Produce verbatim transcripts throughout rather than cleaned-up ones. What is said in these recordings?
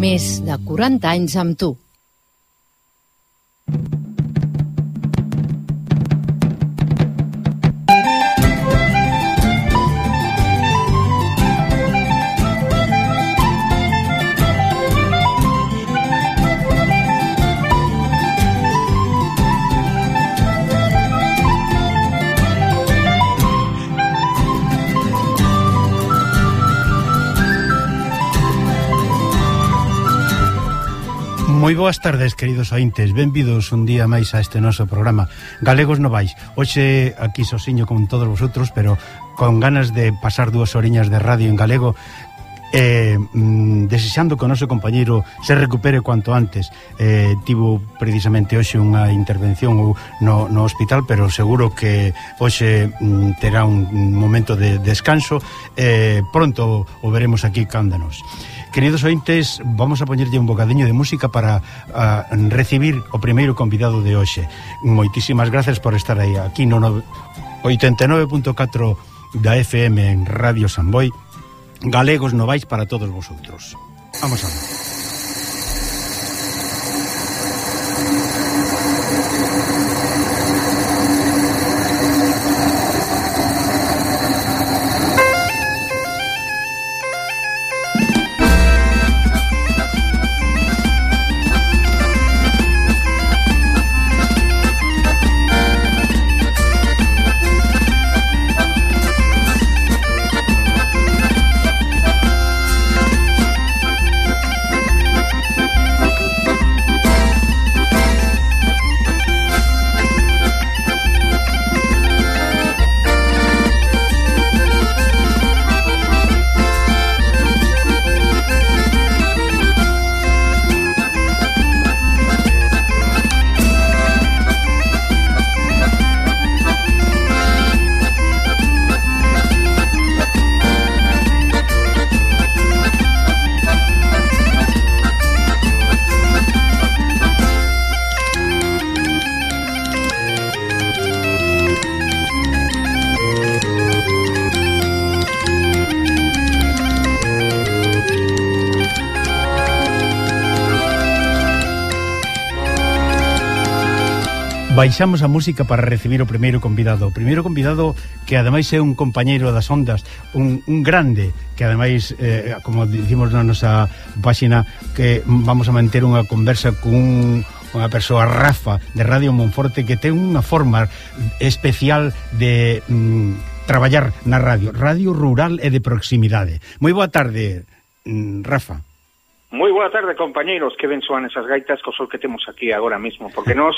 Més de quaranta anys amb tu. Moi boas tardes, queridos ointes. Benvidos un día máis a este noso programa Galegos Novais. Hoxe aquí sosiño con todos vosotros, pero con ganas de pasar dúas horiñas de radio en galego, eh, mm, desexando que o noso compañeiro se recupere cuanto antes. eh, Tivo precisamente hoxe unha intervención no, no hospital, pero seguro que hoxe mm, terá un momento de descanso. eh, Pronto o veremos aquí cándanos. Queridos ointes, vamos a poñerlle un bocadiño de música para a, recibir o primeiro convidado de hoxe. Moitísimas gracias por estar aí aquí no oitenta e nove punto catro da F M en Radio Samboy. Galegos Novais para todos vosotros. Vamos a ver. Baixamos a música para recibir o primeiro convidado. O primeiro convidado que ademais é un compañeiro das ondas, un, un grande, que ademais, eh, como dicimos na nosa páxina, que vamos a manter unha conversa con un, unha persoa, Rafa, de Radio Monforte, que ten unha forma especial de mm, traballar na radio, radio rural e de proximidade. Moi boa tarde, mm, Rafa. Moi boa tarde, compañeiros, que ben soan esas gaitas co sol que temos aquí agora mesmo, porque nós,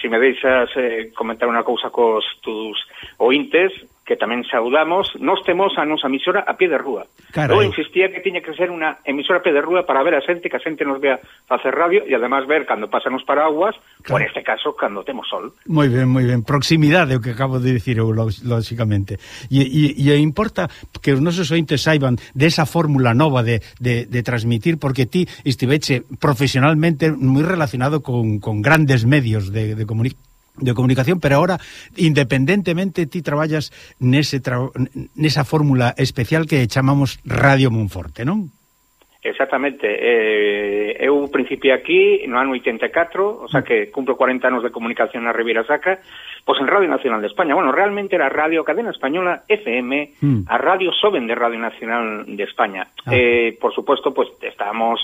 se me deixas eh, comentar unha cousa cos tus ointes, que tamén saudamos, nós temos a nosa emisora a pie de rúa. Carai. Eu insistía que tiña que ser unha emisora a pie de rúa para ver a xente, que a xente nos vea facer radio e además ver cando pasan os paraguas, claro. Ou neste caso, cando temos sol. Moi ben, moi ben. Proximidade, o que acabo de dicir eu, lógicamente. E, e, e importa que os nosos ointes saiban desa fórmula nova de, de, de transmitir, porque ti estiveche profesionalmente moi relacionado con, con grandes medios de, de comunicación. de comunicación, pero ahora independentemente ti traballas nese tra... nesa fórmula especial que chamamos Radio Monforte, non? Exactamente. Eh, eu principiei aquí no ano oitenta e catro, o sea que cumplo cuarenta anos de comunicación na Ribeira Sacra, pois en Radio Nacional de España. Bueno, realmente era Radio Cadena Española F M, mm. a Radio Soben de Radio Nacional de España. Ah. Eh, por supuesto, pues estábamos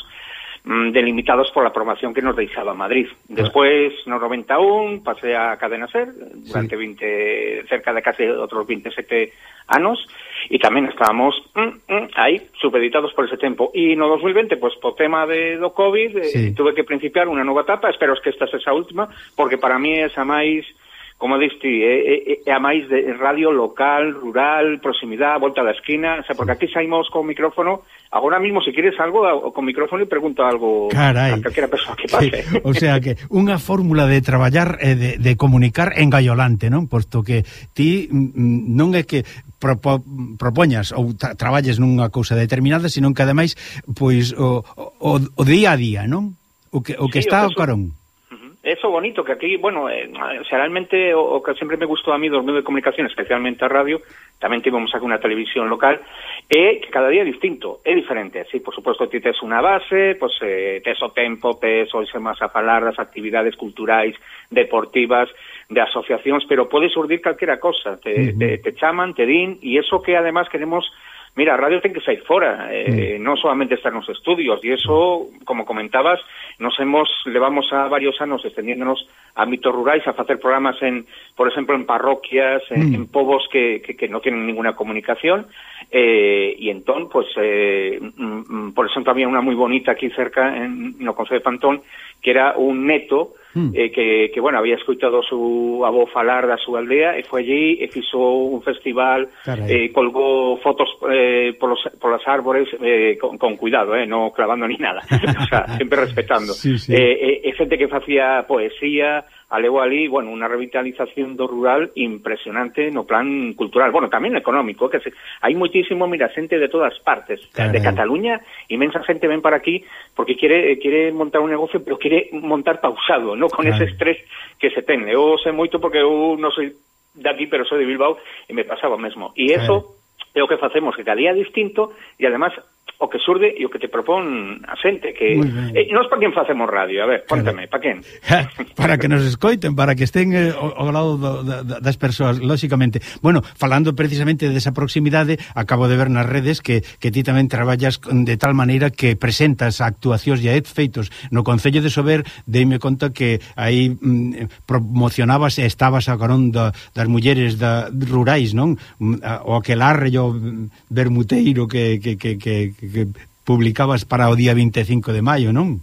delimitados por la programación que nos deixaba Madrid. Despois, no noventa e un, pasé a Cadena Ser, durante sí. veinte, cerca de casi otros veintisiete anos, e tamén estábamos mm, mm, aí, supeditados por ese tempo. E no dos mil veinte, pues, po tema de, do COVID, sí. eh, tuve que principiar unha nova etapa, espero que esta sexa a última, porque para mí é esa máis, como diste, é, é, é a máis de radio local, rural, proximidade, volta da esquina, o sea, porque aquí saímos con micrófono. Agora mismo, se quieres algo, con micrófono e pregunto algo. Carai. A calquera persoa que pase. Sí. O sea que unha fórmula de traballar e de, de comunicar engaiolante, non? Posto que ti non é que propo, propoñas ou tra traballes nunha cousa determinada, sino que ademais, pois, o, o, o día a día, non? O que, o que sí, está o carón. Eso bonito, que aquí, bueno, eh, realmente o, o que sempre me gustou a mí dos medios de comunicación, especialmente a radio, tamén tivemos aquí unha televisión local, é que cada día é distinto, é diferente. Sí, por suposto, ti tes unha base, pues, eh, tes o tempo, tes o máis a falar das actividades culturais, deportivas, de asociacións, pero pode surdir calquera cosa, te, uh -huh. te, te chaman, te din, e eso que además queremos. Mira, a radio ten que sair fora, eh, mm. non solamente estar nos estudios, e eso, como comentabas, nos hemos, levamos a varios anos extendiéndonos a ámbitos rurais, a facer programas en, por exemplo, en parroquias, en, mm. en povos que, que, que no tienen ninguna comunicación, eh, e entón, pues, eh, mm, por exemplo, había unha moi bonita aquí cerca, en, no Concello de Pantón, que era un neto, Eh, que, que, bueno, había escoitado su avó falar da súa aldea e foi allí e fixo un festival, eh, colgou fotos eh, polos, polas árbores eh, con, con cuidado, eh, no clavando ni nada, o sea, sempre respetando. Sí, sí. Eh, eh, xente que facía poesía, alego ali, bueno, unha revitalización do rural impresionante no plan cultural, bueno, tamén económico, que se, hai moitísimo, mira, xente de todas partes, Caray. de Cataluña, inmensa xente ven para aquí porque quiere quiere montar un negocio, pero quiere montar pausado, no con Caray. ese estrés que se ten. Eu sei moito porque eu non soy de aquí, pero soy de Bilbao, e me pasaba o mesmo. E eso é o que facemos, que cada día é distinto, e además o que surde e o que te propón a xente, que eh, nós para quen facemos radio, a ver, póntame, para quen? Para que nos escoiten, para que estén eh, ao lado do, da, das persoas, lóxicamente. Bueno, falando precisamente desa proximidade, acabo de ver nas redes que, que ti tamén traballas de tal maneira que presentas actuacións e feitos no Concello de Sober, deime conta que aí mm, promocionabas e estabas a carón da, das mulleres da, rurais, non? O aquelarre o vermuteiro que, que, que, que que publicabas para o día vinte e cinco de maio, non?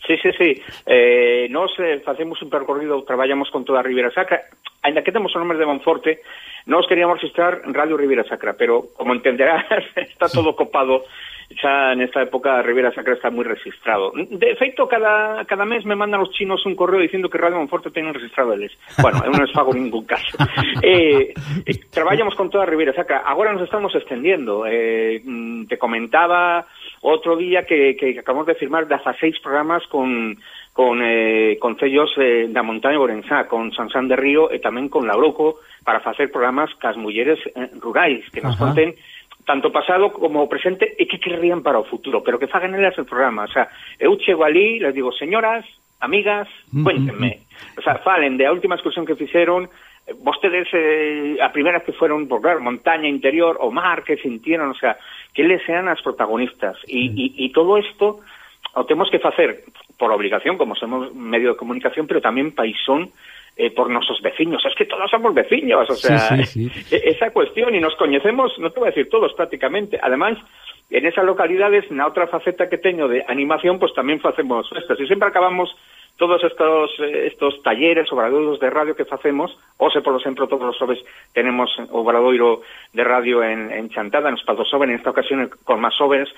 Sí, sí, sí. Eh, nos eh, facemos un percorrido, traballamos con toda a Ribeira Sacra, ainda que temos o nome de Monforte, nos queríamos registrar Radio Ribeira Sacra, pero, como entenderás, está todo copado. Xa nesta época a Ribeira Sacra está moi registrado. De feito, cada, cada mes me mandan os chinos un correo dicindo que Radio Monforte ten registrado eles. Bueno, eu non les fago ningún caso. Eh, eh, traballamos con toda a Ribeira Sacra. Agora nos estamos extendiendo. Eh, te comentaba outro día que, que acabamos de firmar dieciséis programas con con eh, concellos eh, da Montaña Orensá, con Sansán de Río e tamén con Lauroco, para facer programas cas mulleres eh, rurais, que nos Ajá. conten tanto pasado como presente e que querrían para o futuro, pero que fagan elas el programa. O sea, eu chego ali, les digo, señoras, amigas, cuéntenme. O sea, falen de a última excursión que fixeron, vostedes eh, a primeras que fueron por claro, montaña interior, o mar, que sintieron, o sea, que les sean as protagonistas. E, e, e todo isto o temos que facer por obligación, como somos medio de comunicación, pero tamén paisón, Eh, por nosos veciños, es que todos somos veciños, o sea, sí, sí, sí. esa cuestión, y nos coñecemos, no te voy a decir todos prácticamente, además, en esas localidades, na outra faceta que teño de animación, pues tamén facemos festas, e sempre acabamos todos estos estos talleres, obradoiros de radio que facemos, ose, por exemplo, todos os xoves tenemos obradoiro de radio en, en Chantada, nos Paldos Soben, en esta ocasión con máis jóvenes,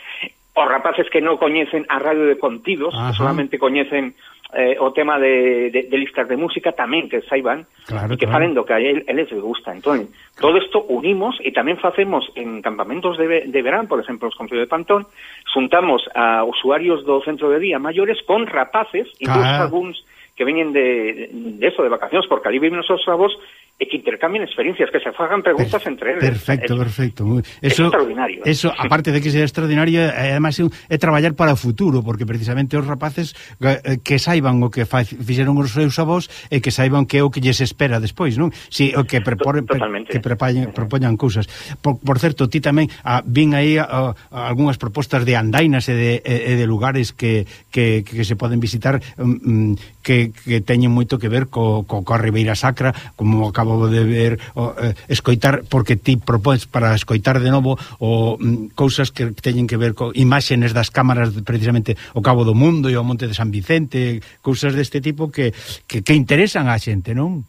os rapaces que non coñecen a radio de contidos, Ajá. que solamente coñecen Eh, o tema de, de, de listas de música tamén que saiban claro, e que claro. falen do que a eles les gusta. Entón, claro. todo isto unimos e tamén facemos en campamentos de, de verán, por exemplo, os Concello de Pantón, juntamos a usuarios do centro de día maiores con rapaces, incluso claro. algúns que veñen de, de eso, de vacacións, porque ali viven os seus avós, e que intercambien experiencias, que se fagan preguntas per, entre eles. Perfecto, es, perfecto. Eso, es extraordinario. Eso, aparte de que sea extraordinario, además é traballar para o futuro, porque precisamente os rapaces que saiban o que fixeron os seus avós e que saiban que é o que lles espera despois, non? Si, o que preporen, que prepañen, propoñan cousas. Por, por certo, ti tamén a, vin aí a, a algunhas propostas de andainas e de, e de lugares que, que, que se poden visitar um, que, que teñen moito que ver co, co, co Ribeira Sacra, como acabo de ver, o, eh, escoitar, porque ti propões para escoitar de novo o mm, cousas que teñen que ver con imaxenes das cámaras de, precisamente o Cabo do Mundo e o Monte de San Vicente, cousas deste tipo que, que, que interesan á xente, non?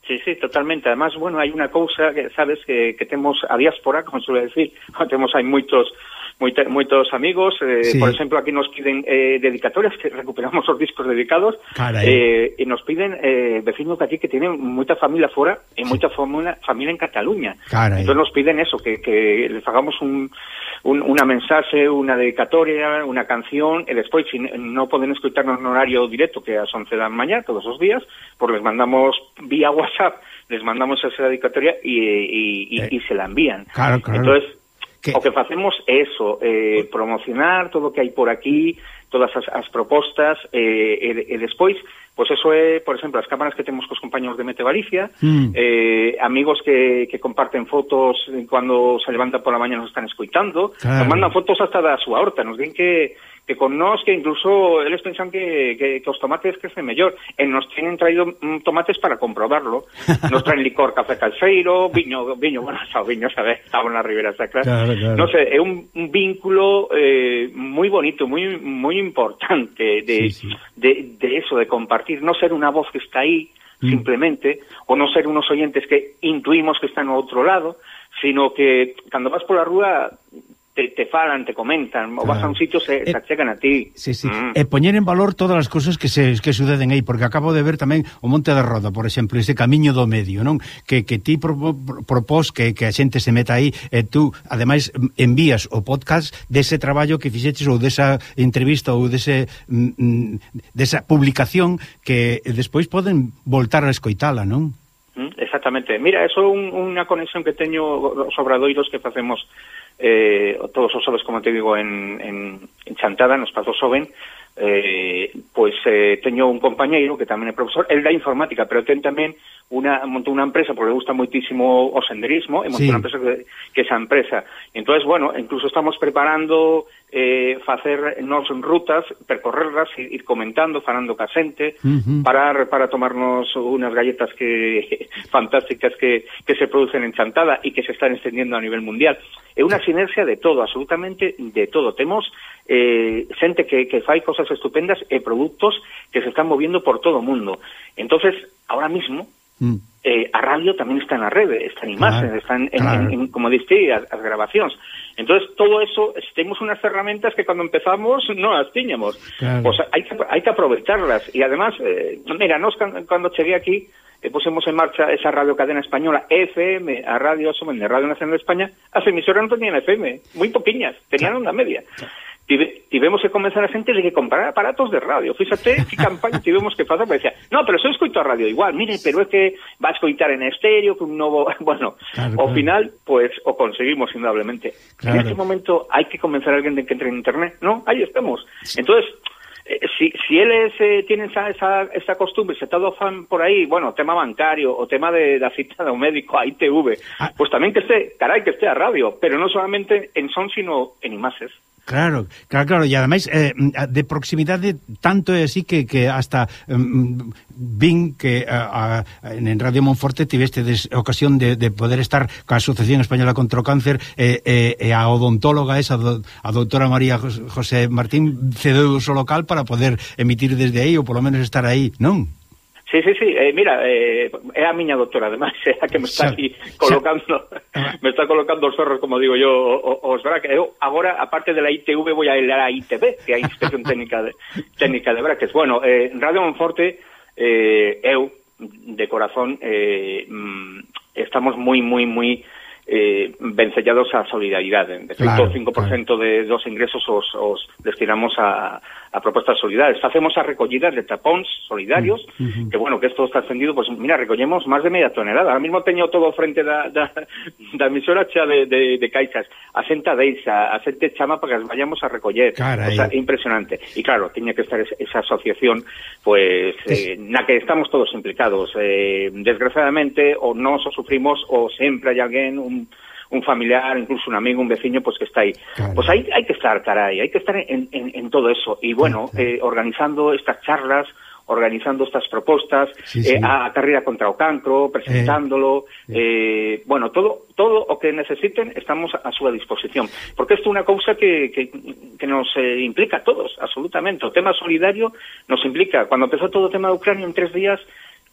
Sí, sí, totalmente. Además, bueno, hai unha cousa que, sabes, que, que temos a diáspora, como suele decir, temos hai moitos moita, moitos amigos, eh, sí. por exemplo, aquí nos piden eh, dedicatorias, que recuperamos os discos dedicados, eh, e nos piden eh, vecinos de aquí que tienen moita familia fora e moita familia, familia en Cataluña. Carai. Entón nos piden eso, que, que les hagamos un, un, una mensaxe, una dedicatoria, una canción, e despois, se si non poden escutarnos no horario directo, que é ás once da mañá, todos os días, pues les mandamos vía WhatsApp, les mandamos esa dedicatoria e, e, e, eh. e se la envían. Claro, claro. Entonces, ¿qué? O que facemos é eso, eh, promocionar todo o que hai por aquí, todas as, as propostas, eh, e, e despois, pois pues eso é, por exemplo, as cámaras que temos cos compañeros de Mete Galicia, mm. eh, amigos que, que comparten fotos cando se levantan pola mañá nos están escoitando, claro. Nos mandan fotos hasta da súa horta, nos din que que con nós, que incluso eles pensan que, que, que os tomates crecen mellor, e nos tienen traído mm, tomates para comprobarlo. Nos traen licor café calceiro, viño, viño, bueno, xa viño, sabes, estamos na Ribeira Sacra. Claro, claro. No sé, é un, un vínculo eh, moi bonito, moi moi importante de, sí, sí. de, de eso, de compartir, no ser unha voz que está aí, mm. simplemente, ou non ser unos oyentes que intuimos que están ao outro lado, sino que cando vas pola rúa te, te falan, te comentan, claro. O vas a un sitio se, eh, se achegan a ti. Sí, sí. Mm. E poñer en valor todas as cousas que se que suceden aí, porque acabo de ver tamén o Monte da Roda, por exemplo, ese camiño do medio, non? Que, que ti pro, pro, propós que, que a xente se meta aí, e tú, ademais, envías o podcast dese traballo que fixeches, ou desa entrevista, ou dese mm, desa publicación, que despois poden voltar a escoitala, non? Exactamente. Mira, eso é un, unha conexión que teño os obradoiros que facemos eh, todos os xoves, como te digo, en, en, en Chantada, nos Pazos Xoven, eh, pois eh, teño un compañeiro que tamén é profesor, el da informática, pero ten tamén una, montou unha empresa, porque le gusta moitísimo o senderismo, e montou sí. unha empresa que, que esa empresa. Entonces, bueno, incluso estamos preparando eh, facer nos rutas, percorrerlas, ir comentando, falando ca xente, uh-huh. para, para tomarnos unas galletas que fantásticas que, que se producen en Chantada e que se están extendiendo a nivel mundial. É unha sinerxia de todo, absolutamente de todo. Temos eh, xente que, que fai cosas estupendas e produtos que se están moviendo por todo o mundo. Entonces, ahora mismo, mm. eh, a radio tamén está na rede, está en imaxen, claro, están en, claro. en, en, como diste, as, as grabacións. Entonces, todo eso, temos unas herramientas que cando empezamos non as tiñamos. Claro. Pues hai que, hai que aprovecharlas. E además, eh, mira, nos cando cheguei aquí, e pusemos en marcha esa radio cadena española F M, a Radio Somen de Radio Nacional de España, as emisoras non tenían F M, moi poquiñas, tenían onda media. Tive, tivemos que comenzar a xente de que comprar aparatos de radio. Fíxate que campaña tivemos que facer, porque decía, no, pero eu escoito a radio igual, mire, pero é que va a escoitar en estéreo, que un novo... Bueno, claro, ao claro. final, pues, o conseguimos indudablemente. Claro. En este momento hai que convencer a alguén de que entre en internet, ¿no? Aí estamos. Entonces... Si, si eles eh, tienen esa, esa, esa costumbre, se todo fan por aí, bueno, tema bancario, o tema de da cita do médico a I T V, ah. pues tamén que este, carai, que este a radio, pero non solamente en son, sino en imaxes. Claro, claro, claro, e ademais eh, de proximidade tanto é así que, que hasta um, vin que a, a, en Radio Monforte tiveste des, ocasión de, de poder estar coa Asociación Española contra o Cáncer e, e, e a odontóloga esa, a doutora María José Martín cedeu o seu local para poder emitir desde aí ou polo menos estar aí, non? Sí, sí, sí, eh, mira, eh, é a miña doutora, ademais, é a que me está aquí colocando, me está colocando os ferros, como digo yo, os brackets. Eu, agora, aparte de la I T V, voy a ir a I T V, que é a Inspección Técnica de, técnica de brackets. Bueno, eh, Radio Monforte, eh, eu, de corazón, eh, estamos moi, moi, moi eh, vencellados a solidaridade. De feito, claro, o cinco por cento claro. de, dos ingresos os, os destinamos a, a propostas solidarias. Facemos a recollidas de tapóns solidarios, uh-huh. que, bueno, que esto está ascendido, pues, mira, recollemos máis de media tonelada. Ahora mismo teño todo frente da, da, da emisora xa de, de, de caixas. A xenta deixa, a xente chama para que as vayamos a recoller. Carai. O sea, impresionante. E, claro, tiña que estar esa asociación, pues, eh, na que estamos todos implicados. Eh, desgraciadamente, o nós o sufrimos, o sempre hai alguén, un un familiar, incluso un amigo, un veciño, pues que está aí. Claro. Pues hay, hay que estar, caray, hay que estar en, en, en todo eso. Y bueno, claro. eh, organizando estas charlas, organizando estas propostas, sí, sí. Eh, a carreira contra o cancro, presentándolo, eh, eh, bueno, todo todo o que necesiten estamos a súa disposición. Porque isto é unha cousa que, que, que nos eh, implica a todos, absolutamente. O tema solidario nos implica. Cuando empezó todo o tema de Ucrania, en tres días,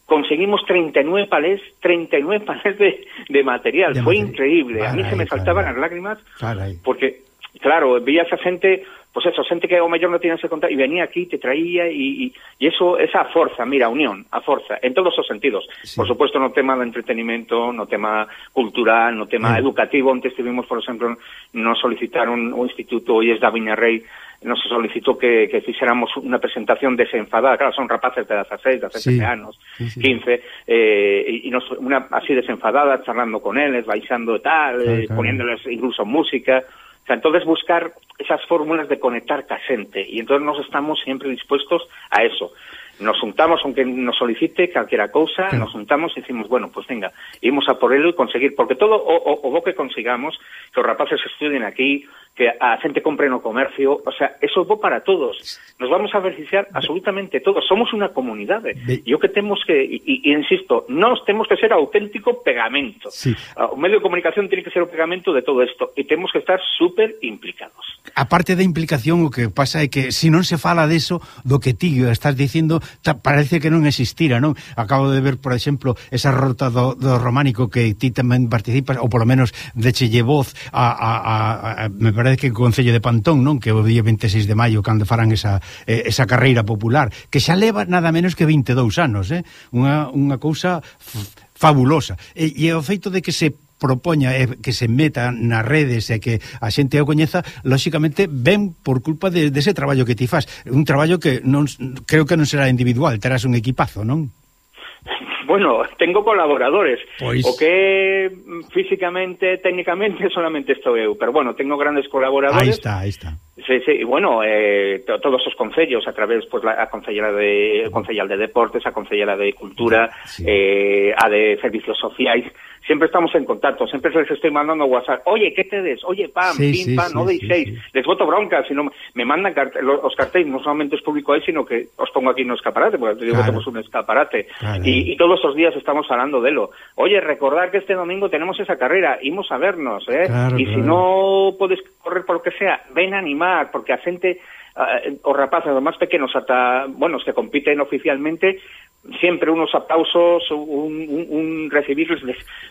conseguimos treinta y nueve palés, treinta y nueve palés de, de material. De Fue material. increíble. Caray, a mí se me saltaban caray. las lágrimas, caray. porque claro, vías a xente, pois pues eso, xente que ao mellor non tiene ese contacto, e venía aquí, te traía, e, e eso, esa forza, mira, a unión, a forza, en todos os sentidos. Sí. Por supuesto, no tema do entretenimento, no tema cultural, no tema sí. educativo, onde estivimos, por exemplo, nos solicitaron o Instituto Olles da Viña Rei, nos solicitó que, que fixéramos unha presentación desenfadada, claro, son rapaces de dezaseis, dezasete sí. anos, sí, sí. quince, eh, e nos, unha así desenfadada, charlando con eles, baixando e tal, claro, eh, claro. poniéndoles incluso música. O sea, entonces buscar esas fórmulas de conectar ca xente, e entonces nos estamos sempre dispuestos a eso. Nos juntamos, aunque nos solicite calquera cousa, claro. nos juntamos e decimos, bueno, pues venga, imos a por ello e conseguir, porque todo o, o, o bo que consigamos, que os rapaces estudien aquí, que a xente compre no comercio, o sea, eso é bo para todos. Nos vamos a beneficiar absolutamente todos. Somos unha comunidade. E o que temos que, e, e insisto, nós temos que ser auténtico pegamento. Sí. O medio de comunicación tiene que ser o pegamento de todo isto, e temos que estar super implicados. A parte da implicación, o que pasa é que se non se fala deso, do que ti estás dicindo, parece que non existira, non? Acabo de ver, por exemplo, esa rota do, do románico que ti tamén participas, ou polo menos dechelle voz a, a, a, a me parece que o Concello de Pantón, non? Que o día veintiséis de maio, cando farán esa, eh, esa carreira popular, que xa leva nada menos que vinte e dous anos, eh? Unha, unha cousa fabulosa. E, e o feito de que se propoña eh, que se meta nas redes e que a xente o coñeza, lóxicamente ven por culpa de, de ese traballo que ti faz. Un traballo que non creo que non será individual, terás un equipazo, non? Bueno, tengo colaboradores, pois... o que físicamente, técnicamente solamente estou eu, pero bueno, tengo grandes colaboradores. Aí está, aí está. Sí, sí, y bueno, eh, to, todos os concellos a través, pues, la a concellera de concellal de deportes, a concellera de cultura, sí. eh, a de servicios sociais. Siempre estamos en contacto, siempre les estoy mandando WhatsApp, oye, ¿qué te des? Oye, pam, sí, pim, sí, pam, sí, no deis seis. Sí, sí. Les voto bronca, sino me mandan carte los, os cartéis, no solamente os publico ahí, sino que os pongo aquí no escaparate, porque digo, claro. Tenemos un escaparate. Claro. Y, y todos los días estamos hablando de lo. Oye, recordar que este domingo tenemos esa carrera, imos a vernos, ¿eh? Claro, y claro. Si no puedes correr por lo que sea, ven a animar, porque a xente, uh, os rapaces, os máis pequenos, ata, bueno, se compiten oficialmente, siempre unos aplausos, un, un, un recibirles,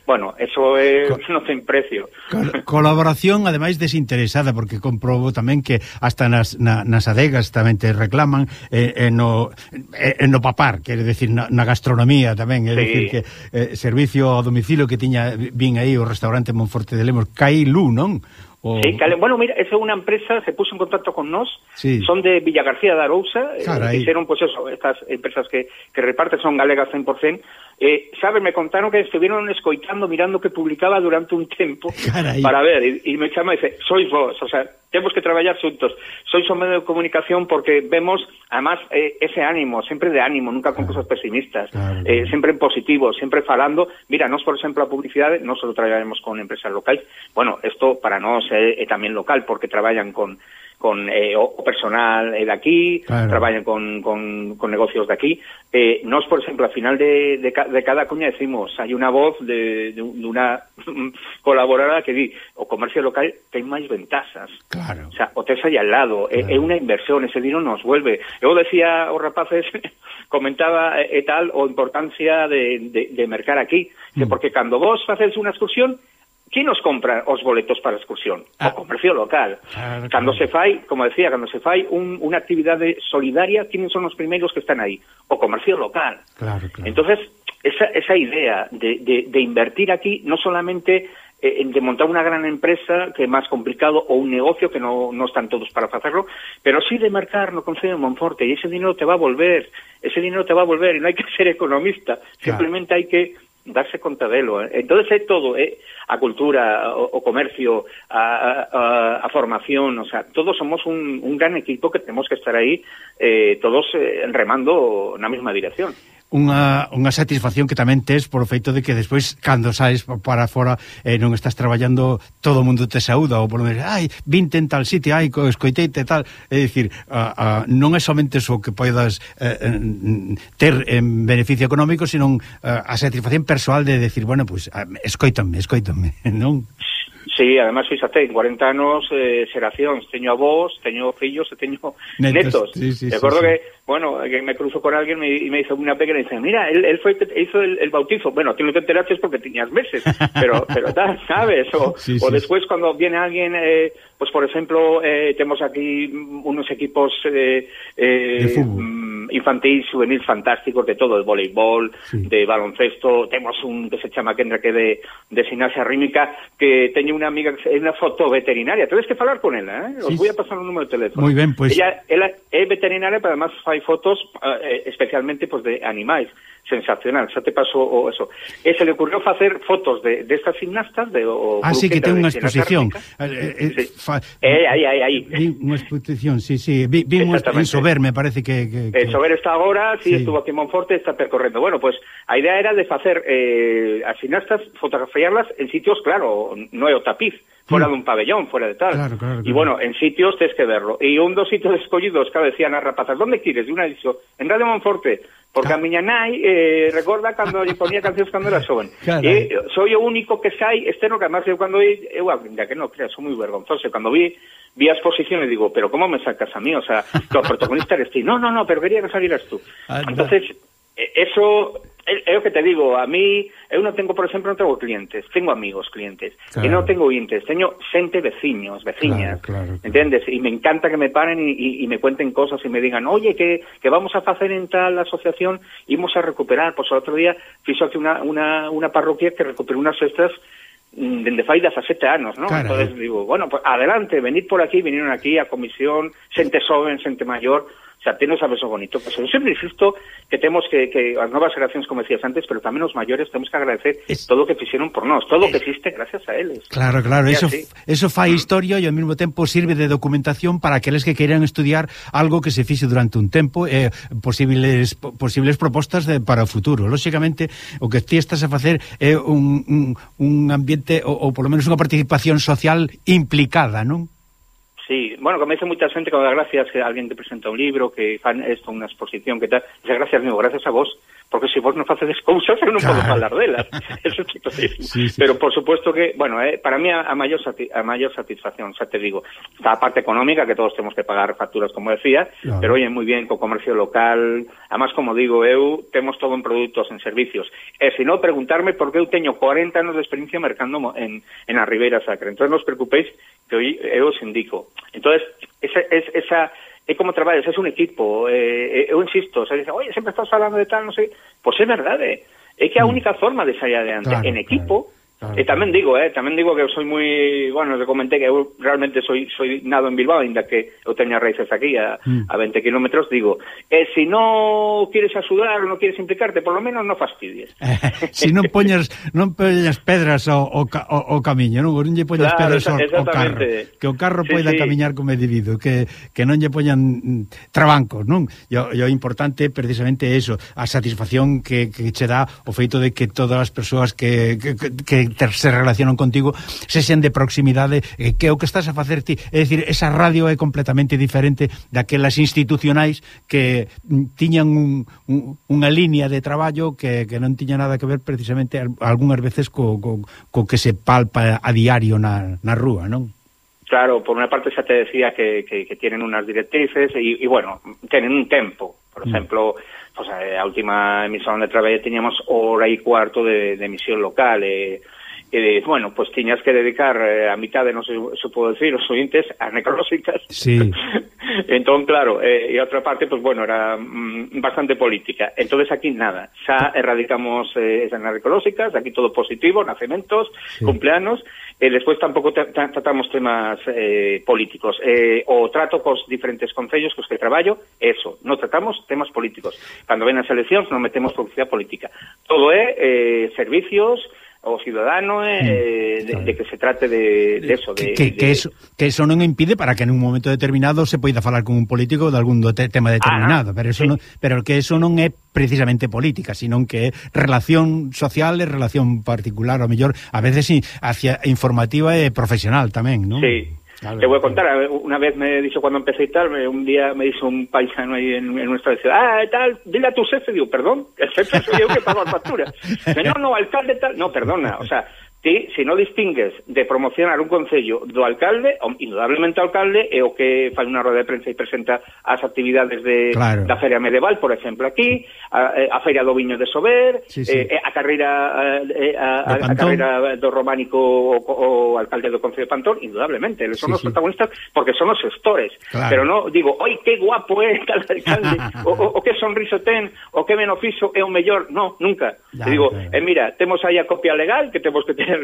bueno, eso é, Co non ten precio. Col colaboración, ademais, desinteresada, porque comprobo tamén que hasta nas, na, nas adegas tamén te reclaman eh, eh, no, eh, no papar, quere decir, na, na gastronomía tamén, é sí. Dicir que eh, servicio a domicilio que tiña, vin aí o restaurante Monforte de Lemos, Cailú, non? O... Sí, cale, bueno, mira, esa é unha empresa, se puso en contacto con nós, sí. Son de Villagarcía de Arousa, eh, hicieron, pues eso, estas empresas que, que reparten son galegas cen por cen, eh, sabes, me contaron que estuvieron escoitando, mirando que publicaba durante un tempo, carai. Para ver, y, y me chama e dice, sois vos, o sea, temos que traballar xuntos, sois un medio de comunicación porque vemos, además, eh, ese ánimo, sempre de ánimo, nunca con claro. Cosas pesimistas, claro, eh, claro. Sempre en positivo, sempre falando, mira, nos, por exemplo, a publicidade, non só traballaremos con empresas locais, bueno, esto para nós é, é tamén local, porque traballan con con eh, o personal eh, de aquí, claro. Traballan con, con, con negocios de aquí. Eh, nos, por exemplo, al final de, de, de cada cuña decimos, hai unha voz de, de, de unha colaboradora que di, o comercio local ten máis ventajas. Claro. O sea, o tes aí al lado, claro. É, é unha inversión, ese dinero nos vuelve. Eu decía aos rapaces, comentaba e eh, tal, o importancia de, de, de mercar aquí, mm. Porque cando vos facedes unha excursión, ¿quién nos compra os boletos para a excursión? Ah. O comercio local. Claro, cando claro. Se fai, como decía, cando se fai un, unha actividade solidaria, ¿quiénes son os primeiros que están aí? O comercio local. Claro, claro. Entonces, esa, esa idea de, de, de invertir aquí, no solamente eh, de montar unha gran empresa, que é máis complicado, o un negocio que no, no están todos para facerlo, pero sí de marcar no Concello de Monforte, e ese dinero te va a volver, ese dinero te va a volver, e non hai que ser economista, claro. Simplemente hai que darse conta delo. Eh? Entonces é todo, eh? A cultura, o, o comercio, a, a, a formación, o sea, todos somos un, un gran equipo que tenemos que estar aí eh, todos eh, remando na mesma dirección. Unha, unha satisfacción que tamén tes por o feito de que despois, cando saes para fora eh, non estás traballando, todo o mundo te saúda, ou por lo menos, ai, vinte en tal sitio, ai, escoiteite tal, é dicir, a, a, non é somente o que poidas eh, ter en beneficio económico, sino a, a satisfacción persoal de decir, bueno, pois, pues, escoítanme, escoítanme, non? Sí, además, fíxate, en cuarenta anos, eh, xeracións, teño avós, teño fillos e teño netos. netos. Sí, sí, Recuerdo sí, sí. que, bueno, que me cruzo con alguén me, y me hizo una pequeña y dice, mira, él, él fue hizo el, el bautizo. Bueno, tú no te enteraste porque tenías meses, pero, pero tal, ¿sabes? O, sí, sí, o después sí. Cuando viene alguien, eh, pues por ejemplo, eh, tenemos aquí unos equipos eh, eh, infantil, juvenil fantásticos de todo, de voleibol, sí. de baloncesto, tenemos un que se chama Kendra que de, de gimnasia rítmica, que teño una amiga que é unha fotoveterinaria, tedes que falar con ela, eh? Os sí. voy a pasar un número de teléfono. Muy ben, pues... Ella, ela é veterinaria, pero además fai fotos eh, especialmente pues, de animais. Sensacional, xa te pasou o eso. E se le ocurrió facer fotos de, de estas gimnastas de o Ah, sí, que ten unha exposición. Eh, eh, sí. fa... eh, aí, aí, aí. Vi unha exposición, sí, sí. Vi, vi en Sober, me parece que... que, que... Eh, Sober está agora, sí, sí, estuvo aquí en Monforte, está percorrendo. Bueno, pues a idea era de facer eh, as gimnastas, fotografiarlas en sitios, claro, non é o tapiz, fuera mm. dun pabellón, fuera de tal. Claro, claro, claro. Y bueno, en sitios tens que verlo. E un dos sitios escollidos, claro, decían as rapazas, ¿dónde quieres? Y una dijo, en Radio Monforte, porque a miña nai eh, recorda cando lle ponía cancións cando era xoven. E soy o único que sai externo, que además eu cando eu, eu ainda que non creas, son moi vergonzoso, cando vi vi a exposición e digo, pero como me sacas a mí? O sea, que o protagonista eres ti. No, no, no, pero quería que salieras tú. Entonces, eso é o que te digo, a mí eu non tengo, por exemplo, non tengo clientes, tengo amigos clientes, claro. E non tengo ointes, teño xente, veciños, veciñas, claro, claro, claro. Entendes? E me encanta que me paren e me cuenten cosas e me digan, oye, que, que vamos a facer en tal asociación, imos a recuperar, pois pues, o outro día fixo aquí unha, unha, unha parroquia que recuperou unas cestas dende fai dezasete anos, ¿no? Claro. Entonces digo, bueno, pues adelante, venid por aquí, vinieron aquí a comisión, xente xoven, xente maior. O sea, ti non sabes o bonito que son. Eu sempre insisto que temos que, que as novas generacións, como decías antes, pero tamén os maiores, temos que agradecer es... todo o que fixeron por nós, todo o que existe gracias a eles. Claro, claro, eso, eso fai historia e ao mesmo tempo sirve de documentación para aqueles que queiran estudiar algo que se fixe durante un tempo, eh, posibles posibles propostas de, para o futuro. Lóxicamente, o que ti estás a facer é un, un, un ambiente, ou, ou polo menos unha participación social implicada, non? Sí, bueno, como dice moita xente, como gracias que alguén te presenta un libro, que fan esto, unha exposición, que tal, dice gracias, amigo, gracias a vos, porque se si vos non facedes cousas, eu non claro. Podo falar delas. Eso é tipo sí, sí. Pero por supuesto que, bueno, eh, para mí a, a maior sati a maior satisfacción, xa te digo, está a parte económica, que todos temos que pagar facturas, como decía, claro. Pero oye, moi bien, co comercio local, además, como digo, eu, temos todo en produtos, en servicios, e se non, preguntarme por que eu teño cuarenta anos de experiencia mercando en, en a Ribeira Sacra. Entón, non os preocupéis, que hoy eu os indico. Entonces, esa, es, esa é como traballas, é un equipo, eh, eu insisto, se dice, oye, sempre estás falando de tal, non sei, pois é verdade, é que a única forma de sair adiante, claro, en equipo, claro, e tamén digo, eh, tamén digo que eu soy moi, bueno, te comenté que eu realmente soy soy nado en Bilbao, ainda que eu teña raíces aquí a, mm. a veinte kilómetros, digo, eh, si non quieres axudar ou non quieres implicarte, por lo menos non fastidies. Eh, si non poñas non poñas pedras ao, ao, ao camiño, non, non lle poñas claro, pedras ao, ao carro, que o carro sí, poida sí. Camiñar como é debido, que, que non lle poñan trabancos, non? E o importante precisamente é eso, a satisfacción que, que che dá o feito de que todas as persoas que, que, que se relacionan contigo se xen de proximidade, eh, que é o que estás a facer ti, é dicir, esa radio é completamente diferente daquelas institucionais que tiñan un, un, unha línea de traballo que, que non tiña nada que ver precisamente algunhas veces co, co, co que se palpa a diario na, na rúa, non? Claro, por unha parte xa te decía que, que, que tienen unas directrices e, e bueno, tienen un tempo, por exemplo, mm. pues, a última emisión de traballo teníamos hora e cuarto de, de emisión local, e e, bueno, pues tiñas que dedicar eh, a mitad de, non sei se puedo decir, os ointes a necrolóxicas. Sí. Entón, claro, eh, e a outra parte, pues bueno, era mm, bastante política. Entonces aquí nada, xa erradicamos eh, esas necrolóxicas, aquí todo positivo, nacementos, sí. Cumpleanos, e despois tampouco tratamos temas eh, políticos. Eh, o trato cos diferentes concellos cos que traballo, eso, non tratamos temas políticos. Cando ven as eleccións non metemos publicidade política. Todo é eh, servicios o ciudadano eh, de, de que se trate de, de eso de, que, que, de... eso que eso non impide para que en un momento determinado se poida falar con un político de algún te tema determinado, ah, pero eso sí. non, pero que eso non é precisamente política, sino que é relación social e relación particular, ou mellor, a veces sí, hacia informativa e profesional tamén, non? Sí. Claro, te voy a contar, una vez me dijo cuando empecé y tal, un día me dijo un paisano ahí en, en nuestra ciudad, ah, tal, dile a tu jefe, digo, perdón, el jefe soy yo que pago la factura. Señor, no, alcalde tal, no, perdona, o sea, ti, se non distingues de promocionar un concello do alcalde, o, indudablemente o alcalde é o que fai unha roda de prensa e presenta as actividades de, claro. da Feria Medieval, por exemplo, aquí, a, a Feria do Viño de Sober, sí, sí. Eh, a carreira a, a, a carreira do románico o, o alcalde do Concello de Pantón, indudablemente, eles son sí, os sí. protagonistas porque son os gestores, claro. Pero non digo, oi, que guapo é tal alcalde, o, o, o que sonriso ten, o que menos fixo é o mellor, no, nunca. Ya, Te digo, claro. eh, mira, temos aí a copia legal que temos que ter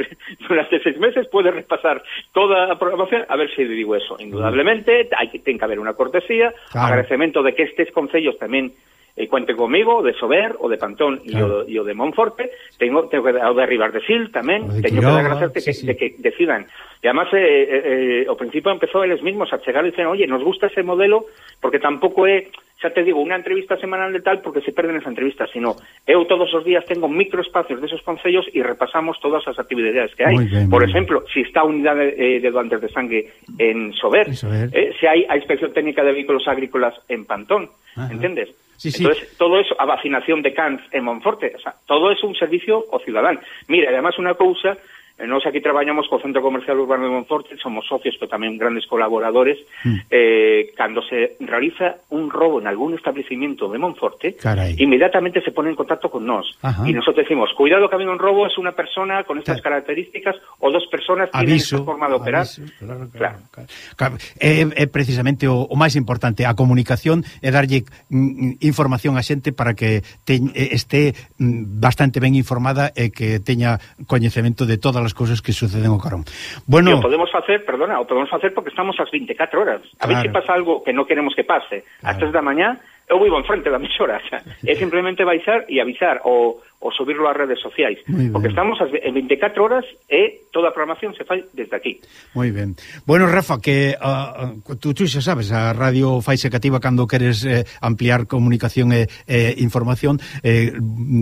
durante seis meses, podes repasar toda a programación, a ver se digo eso. Indudablemente, hai que ten que haber unha cortesía, claro. Agradecemento de que estes concellos tamén eh, cuente comigo, de Sober, o de Pantón claro. e o, o de Monforte, tengo, tengo que o de Ribardecil tamén, teño que dar gracias de, sí, que, sí. de que decidan. E además, eh, eh, eh, ao principio empezou eles mismos a chegar e dicen, oye, nos gusta ese modelo, porque tampouco é, xa te digo, unha entrevista semanal de tal, porque se perden esa entrevista, sino eu todos os días tengo microespacios desos concellos e repasamos todas as actividades que hai. Bien, por exemplo, si está a unidade eh, de doantes de sangue en Sober, eh, se hai a inspección técnica de vehículos agrícolas en Pantón, ajá. Entendes? Sí, sí. Entonces, todo eso, a vacinación de cans en Monforte, o sea, todo es un servicio ao cidadán. Mira, además unha cousa, nós aquí traballamos co Centro Comercial Urbano de Monforte, somos socios, pero tamén grandes colaboradores, mm. eh, cando se realiza un robo en algún establecimiento de Monforte, caray. Inmediatamente se pone en contacto con nós. Ajá. Y nosotros decimos, cuidado que ha habido un robo, es una persona con estas claro. características, o dos personas tienen esta forma de operar. Aviso, claro, claro, claro. claro. É, é precisamente o, o máis importante, a comunicación é darlle mm, información a xente para que te, este mm, bastante ben informada e que teña coñecemento de todas as cousas que suceden ao carón. Bueno, o podemos facer, perdona, o podemos facer porque estamos ás veinticuatro horas. A claro. ver se pasa algo que non queremos que pase. Claro. Ás tres da mañá, eu vivo enfrente da emisora, o sea, é simplemente baixar e avisar o, o subirlo ás redes sociais, porque estamos en veinticuatro horas e toda a programación se fai desde aquí. Moi ben. Bueno, Rafa, que uh, tú, tú xa sabes, a radio faise cativa cando queres eh, ampliar comunicación e eh, información, eh,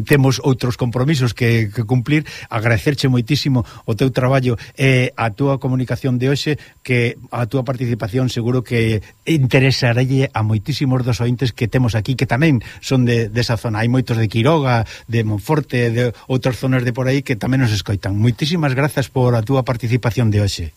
temos outros compromisos que, que cumplir, agradecerche moitísimo o teu traballo e eh, a túa comunicación de hoxe, que a túa participación seguro que interesarelle a moitísimos dos ointes que temos aquí, que tamén son de, desa zona. Hai moitos de Quiroga, de Monforte, de outras zonas de por aí que tamén nos escoitan. Moitísimas grazas por a túa participación de hoxe.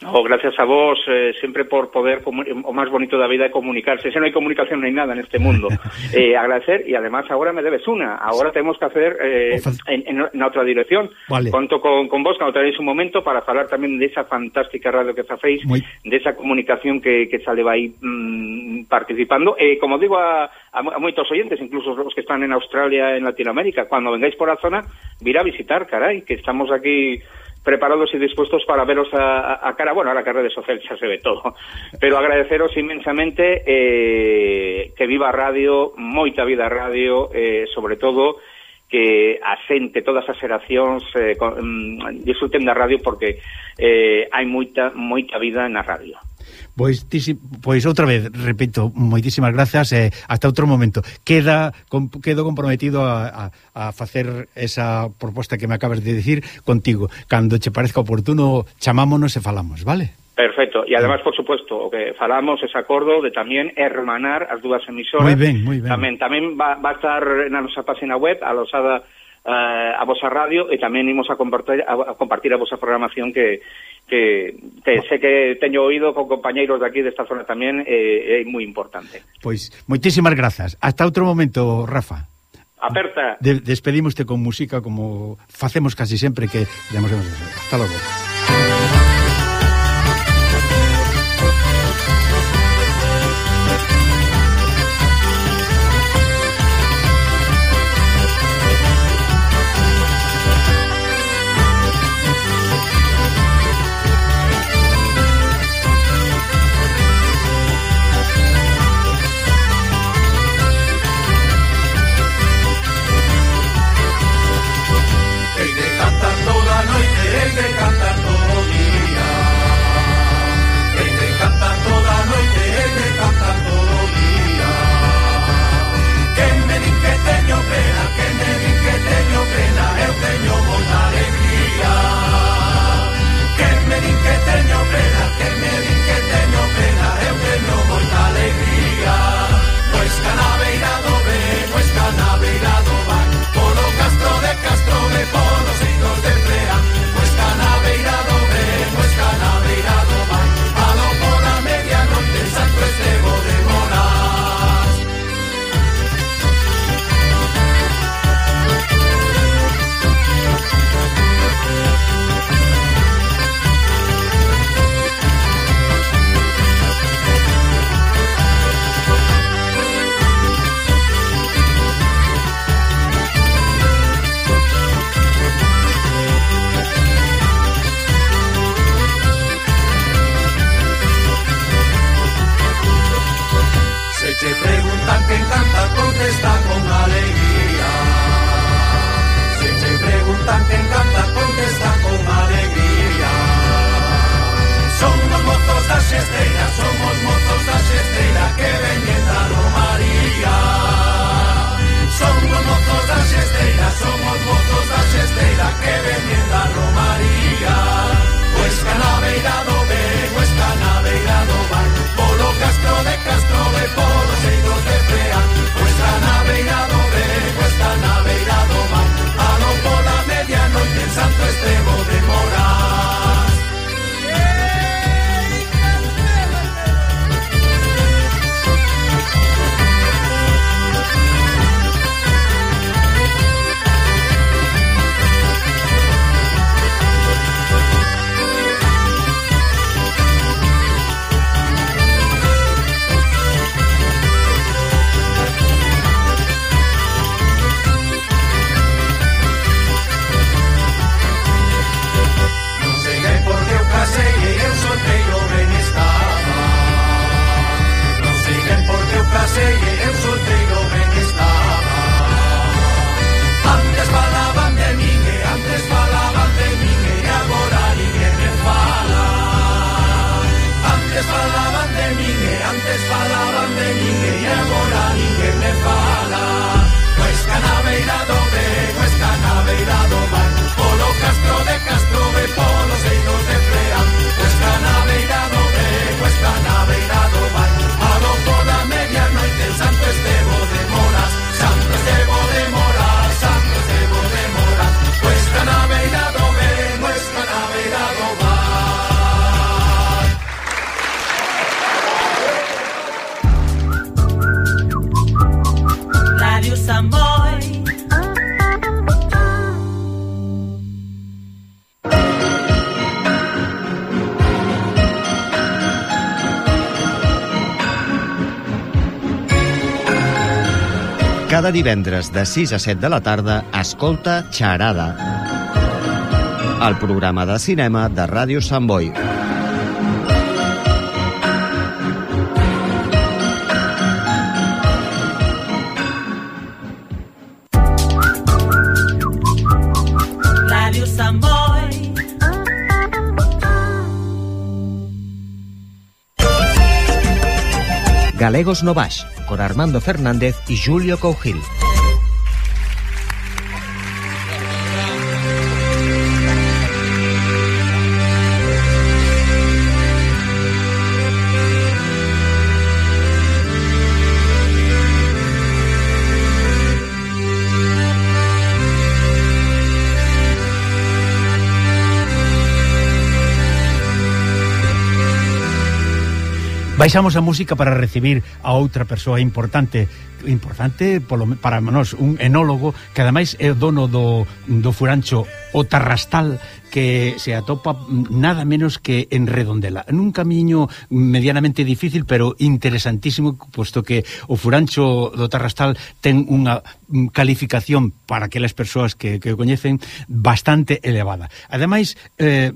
Oh, gracias a vos, eh, sempre por poder, o máis bonito da vida é comunicarse. Se non hai comunicación non hai nada neste mundo. eh, agradecer, e además agora me debes una. Agora temos que hacer eh, en, en, na outra dirección. Vale. Conto con, con vos, cando tenéis un momento, para falar tamén desa fantástica radio que facéis, Muy... desa comunicación que, que sale aí mmm, participando. E eh, como digo a, a, a moitos oyentes, incluso os que están en Australia, en Latinoamérica, cando vengáis por a zona, vir a visitar, carai, que estamos aquí preparados y dispuestos para veros a, a cara, bueno, a la carrera de social xa se ve todo, pero agradeceros inmensamente eh, que viva a radio, moita vida a radio, eh, sobre todo que asente todas as xeracións eh, con, mm, disfruten da radio porque eh, hai moita moita vida na radio. Pois, tisi, pois outra vez, repito, moitísimas grazas e eh, hasta outro momento. Queda com, quedo comprometido a, a, a facer esa proposta que me acabas de decir contigo. Cando che parezca oportuno, chamámonos e falamos, vale? Perfecto, e además, por supuesto, o que falamos ese acordo de tamén hermanar as dúas emisoras. Moi ben, moi ben. Tamén, tamén va, va a estar na nosa página web, alosada uh, a vosa radio, e tamén imos a compartir a, a compartir a vosa programación que que te, sé que teño oído con compañeiros de aquí desta zona tamén, é eh, moi importante. Pois, moitísimas grazas. Hasta outro momento, Rafa. Aperta. De, despedímoste con música como facemos casi sempre que demos. Hasta logo. Cantar toda noite, el de cantar todo día. Cada divendres de sis a set de la tarda, escolta Xarada, el programa de cinema de Ràdio Sant Boi. Ràdio Sant Boi. Galegos no Baix, con Armando Fernández y Julio Cougil. Baixamos a música para recibir a outra persoa importante importante polo, para nós, un enólogo que ademais é o dono do, do furancho O Tarrastal, que se atopa nada menos que en Redondela, nun camiño medianamente difícil pero interesantísimo, posto que o furancho do Tarrastal ten unha calificación para aquelas persoas que, que o coñecen bastante elevada. Ademais, eh,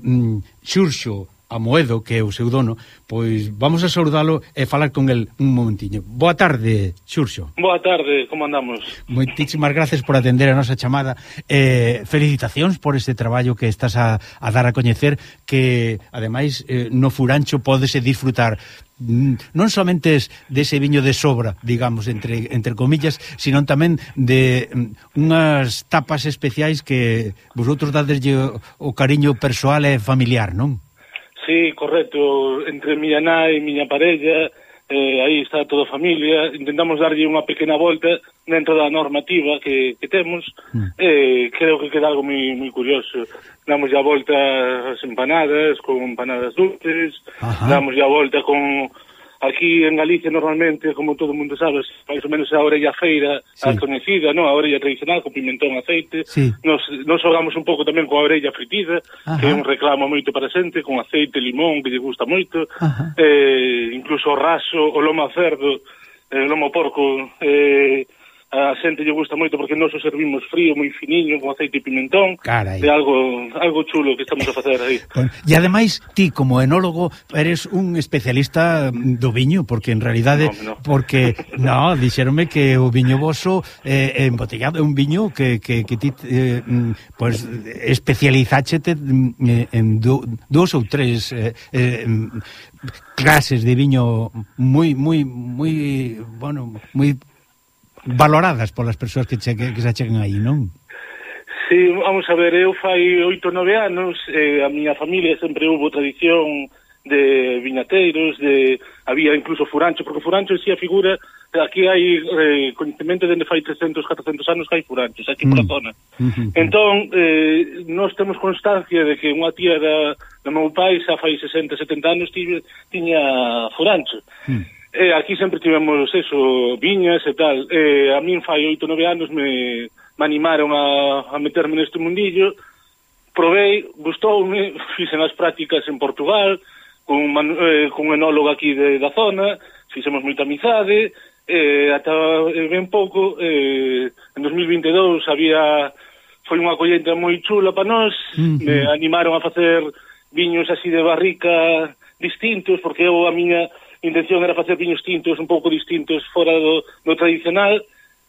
Xurxo Amoedo, que é o seu dono, pois vamos a saudalo e falar con el un momentiño. Boa tarde, Xurxo. Boa tarde, como andamos? Moitísimas gracias por atender a nosa chamada. Eh, felicitacións por este traballo que estás a, a dar a coñecer, que ademais eh, no furancho pódese disfrutar non somente dese viño de sobra, digamos, entre, entre comillas, sino tamén de unhas tapas especiais que vosotros dadeslle o, o cariño persoal e familiar, non? Sí, correcto, entre miña nai e miña parella, eh, aí está toda a familia, intentamos darlle unha pequena volta dentro da normativa que, que temos, mm. eh, creo que queda algo moi, moi curioso. Damos a volta as empanadas, con empanadas dulces, ajá, damos a volta con... Aquí en Galicia normalmente, como todo o mundo sabe, máis ou menos a orella feira, sí, a coñecida, no? A orella tradicional con pimentón, aceite. Sí. Nos, nos xogamos un pouco tamén con a orella fritida, ajá, que é un reclamo moito para xente, con aceite, limón, que lle gusta moito. Eh, incluso o raso, o lomo a cerdo, eh, o lomo porco, eh, a xente lle gusta moito porque nós o servimos frío, moi finiño, con aceite e pimentón. Carai. É algo, algo chulo que estamos a facer aí. Bueno, e ademais, ti como enólogo eres un especialista do viño, porque en realidade, no, no. porque, no, dixeronme que o viño voso eh, embotellado é un viño que, que, que ti eh, pues, especializáchete en do, dos ou tres eh, eh, clases de viño moi, moi, moi, bueno, moi valoradas polas persoas que, che, que, que se achegan aí, non? Sí, vamos a ver, eu fai oito, nove anos, eh, a miña familia sempre hubo tradición de viñateiros, de había incluso furancho, porque furancho en si a figura, aquí hai eh, coñecemento dende fai trescentos, catrocentos anos que hai furanchos, aquí mm. por a zona. Mm-hmm. Entón, eh, nós temos constancia de que unha tía da, da meu pai xa fai sesenta, setenta anos tiña, tiña furancho. Mm. Eh, aquí sempre tivemos eso, viñas e tal. Eh, a min fai oito, nove anos me, me animaron a, a meterme neste mundillo. Provei, gustoume, fixen as prácticas en Portugal, con, eh, con un enólogo aquí de, da zona, fixemos moita amizade, eh, ata eh, ben pouco, eh, en dos mil vinte e dous había, foi unha collenta moi chula para nós, mm-hmm. me animaron a facer viños así de barrica distintos, porque eu a miña intención era facer viños tintos un pouco distintos fora do, do tradicional.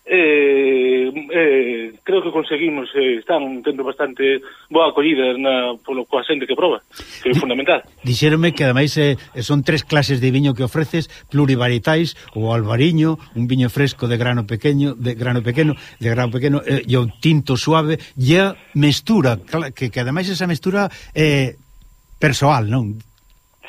eh, eh, creo que conseguimos, eh, están tendo bastante boa acollida na, polo coa xente que proba, que é fundamental. Dixéronme que ademais eh, son tres clases de viño que ofreces, plurivarietais, o albariño, un viño fresco de grano pequeño, de grano pequeno, de grano pequeno, eh, e o tinto suave, e a mestura, que, que ademais esa mestura é eh, persoal, non?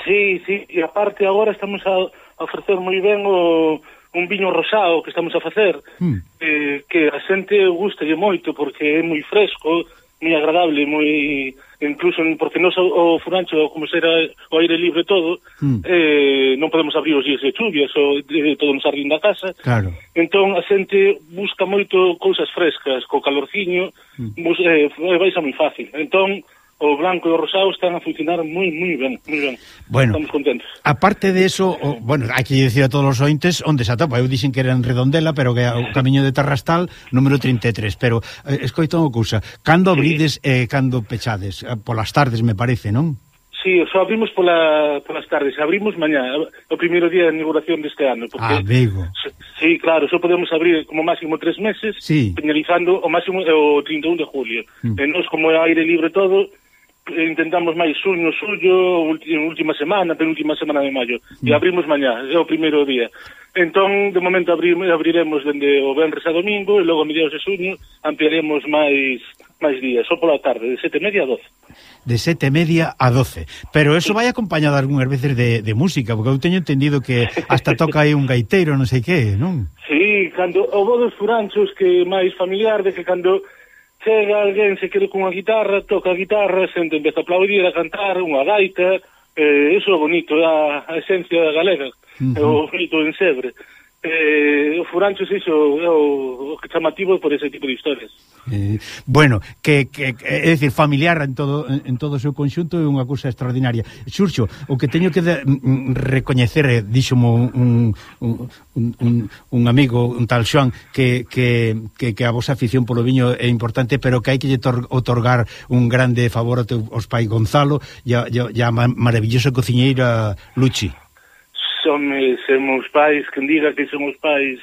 Sí, sí, e aparte agora estamos a ofrecer moi ben o, un viño rosado que estamos a facer, mm. eh, que a xente gustalle moito porque é moi fresco, moi agradable, moi incluso porque non o furancho, como será o aire libre todo, mm. eh, non podemos abrir os días de chuvias ou de todo no xardín da casa. Claro. Entón a xente busca moito cousas frescas, co calorciño, mm. bus, eh, vai ser moi fácil. Entón o blanco e o rosado están a funcionar moi, moi ben, moi ben. Bueno, estamos contentos. Aparte de eso, o, bueno, hai que dicir a todos os ointes onde se atopa. Eu dixen que era en Redondela, pero que é o camiño de Tarrastal, número trinta e tres, pero eh, escoito unha cousa, cando abrides e eh, cando pechades? Polas tardes, me parece, non? Sí, só abrimos pola, polas tardes, abrimos mañá, o primeiro día de inauguración deste ano, porque, ah, Vigo. Sí, claro, só podemos abrir como máximo tres meses, sí. Finalizando o máximo o trinta e un de julio. Mm. E nos, como é aire libre todo, intentamos máis suño, suyo, última semana, penúltima semana de maio, mm. e abrimos mañá, é o primeiro día. Entón, de momento abrimos, abriremos dende o venres a domingo, e logo a mediados de suño ampliaremos máis máis días, só pola tarde, de sete e media a doce. De sete e media a doce. Pero eso vai acompañado algunhas veces de, de música, porque eu teño entendido que hasta toca aí un gaiteiro, non sei que, non? Sí, cando o bo dos furanchos que máis familiar, de que cando chega alguén se quere cunha guitarra, toca a guitarra, xente empeza a aplaudir, a cantar, unha gaita, eh, eso é bonito, é a, a esencia galega, uh-huh. É o bonito en Sebre. Eh, o furanchos iso é o, o chamativo por ese tipo de historias. Eh, bueno, que, que, é dicir, familiar en todo en todo o seu conxunto é unha cousa extraordinaria. Xurxo, o que teño que de, mm, recoñecer, eh, díxomo un, un, un, un amigo, un tal Xoan, que, que, que, que a vosa afición polo viño é importante, pero que hai que lle otorgar un grande favor aos pai Gonzalo e a, e a maravillosa cociñeira Luchi. Son se meus pais, quen diga que son os pais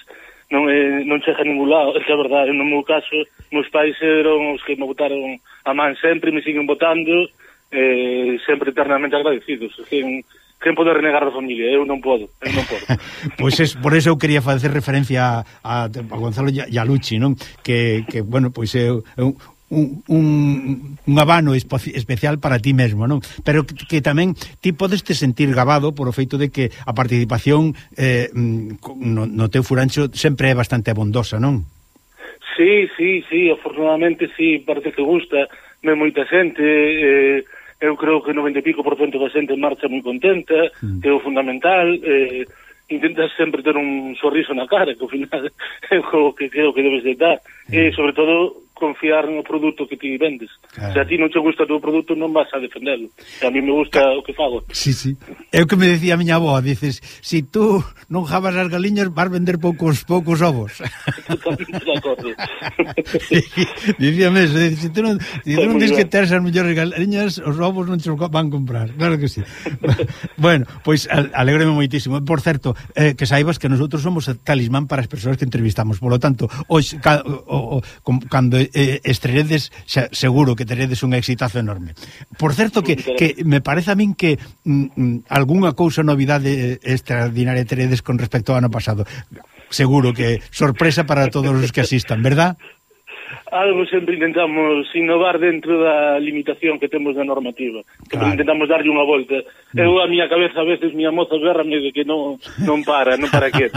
non é, non chega a ningún lado, é que a verdade, no meu caso meus pais eran os que me botaron a man sempre, me siguen botando, eh, sempre eternamente agradecidos. Quen, quen pode renegar da familia? Eu non podo, eu non podo. Pois pues por eso eu quería facer referencia a, a, a Gonzalo e a Luchi, non? Que, que bueno, pois é un Un, un, un abano especial para ti mesmo, non? Pero que, que tamén ti podes te sentir gabado por o feito de que a participación eh, no, no teu furancho sempre é bastante abondosa, non? Sí, sí, sí, afortunadamente sí, parece que gusta, me moita xente, eh, eu creo que noventa e pico por cento da xente marcha moi contenta, mm. que é o fundamental, eh, intentas sempre ter un sorriso na cara, que ao final é o que creo que debes de dar, mm. e sobre todo confiar no produto que ti vendes. Claro. Se a ti non te gusta o teu produto, non vas a defendelo. E a mí me gusta claro. o que fago. Sí, sí. É o que me decía a miña avó, dices, si tú non jabas as galiñas, vas vender poucos poucos ovos. Totalmente de acordo. Dicíame eso, si tú non, si tú non dices que teres as mellores galiñas, os ovos non te van comprar. Claro que sí. Bueno, pois pues, alégrome moitísimo. Por certo, eh, que saibas que nosotros somos talismán para as persoas que entrevistamos. Por lo tanto, hoxe, ca, o, o, cando eh, estreredes, xa, seguro que teredes un exitazo enorme. Por certo, que, que me parece a min que mm, algunha cousa novidade extraordinaria teredes con respecto ao ano pasado. Seguro que sorpresa para todos os que asistan, verdad? Algo sempre intentamos innovar dentro da limitación que temos da normativa. Claro. Intentamos darlle unha volta. Mm. Eu, a miña cabeza, a veces, miña moza berrame de que non, non para, non para que.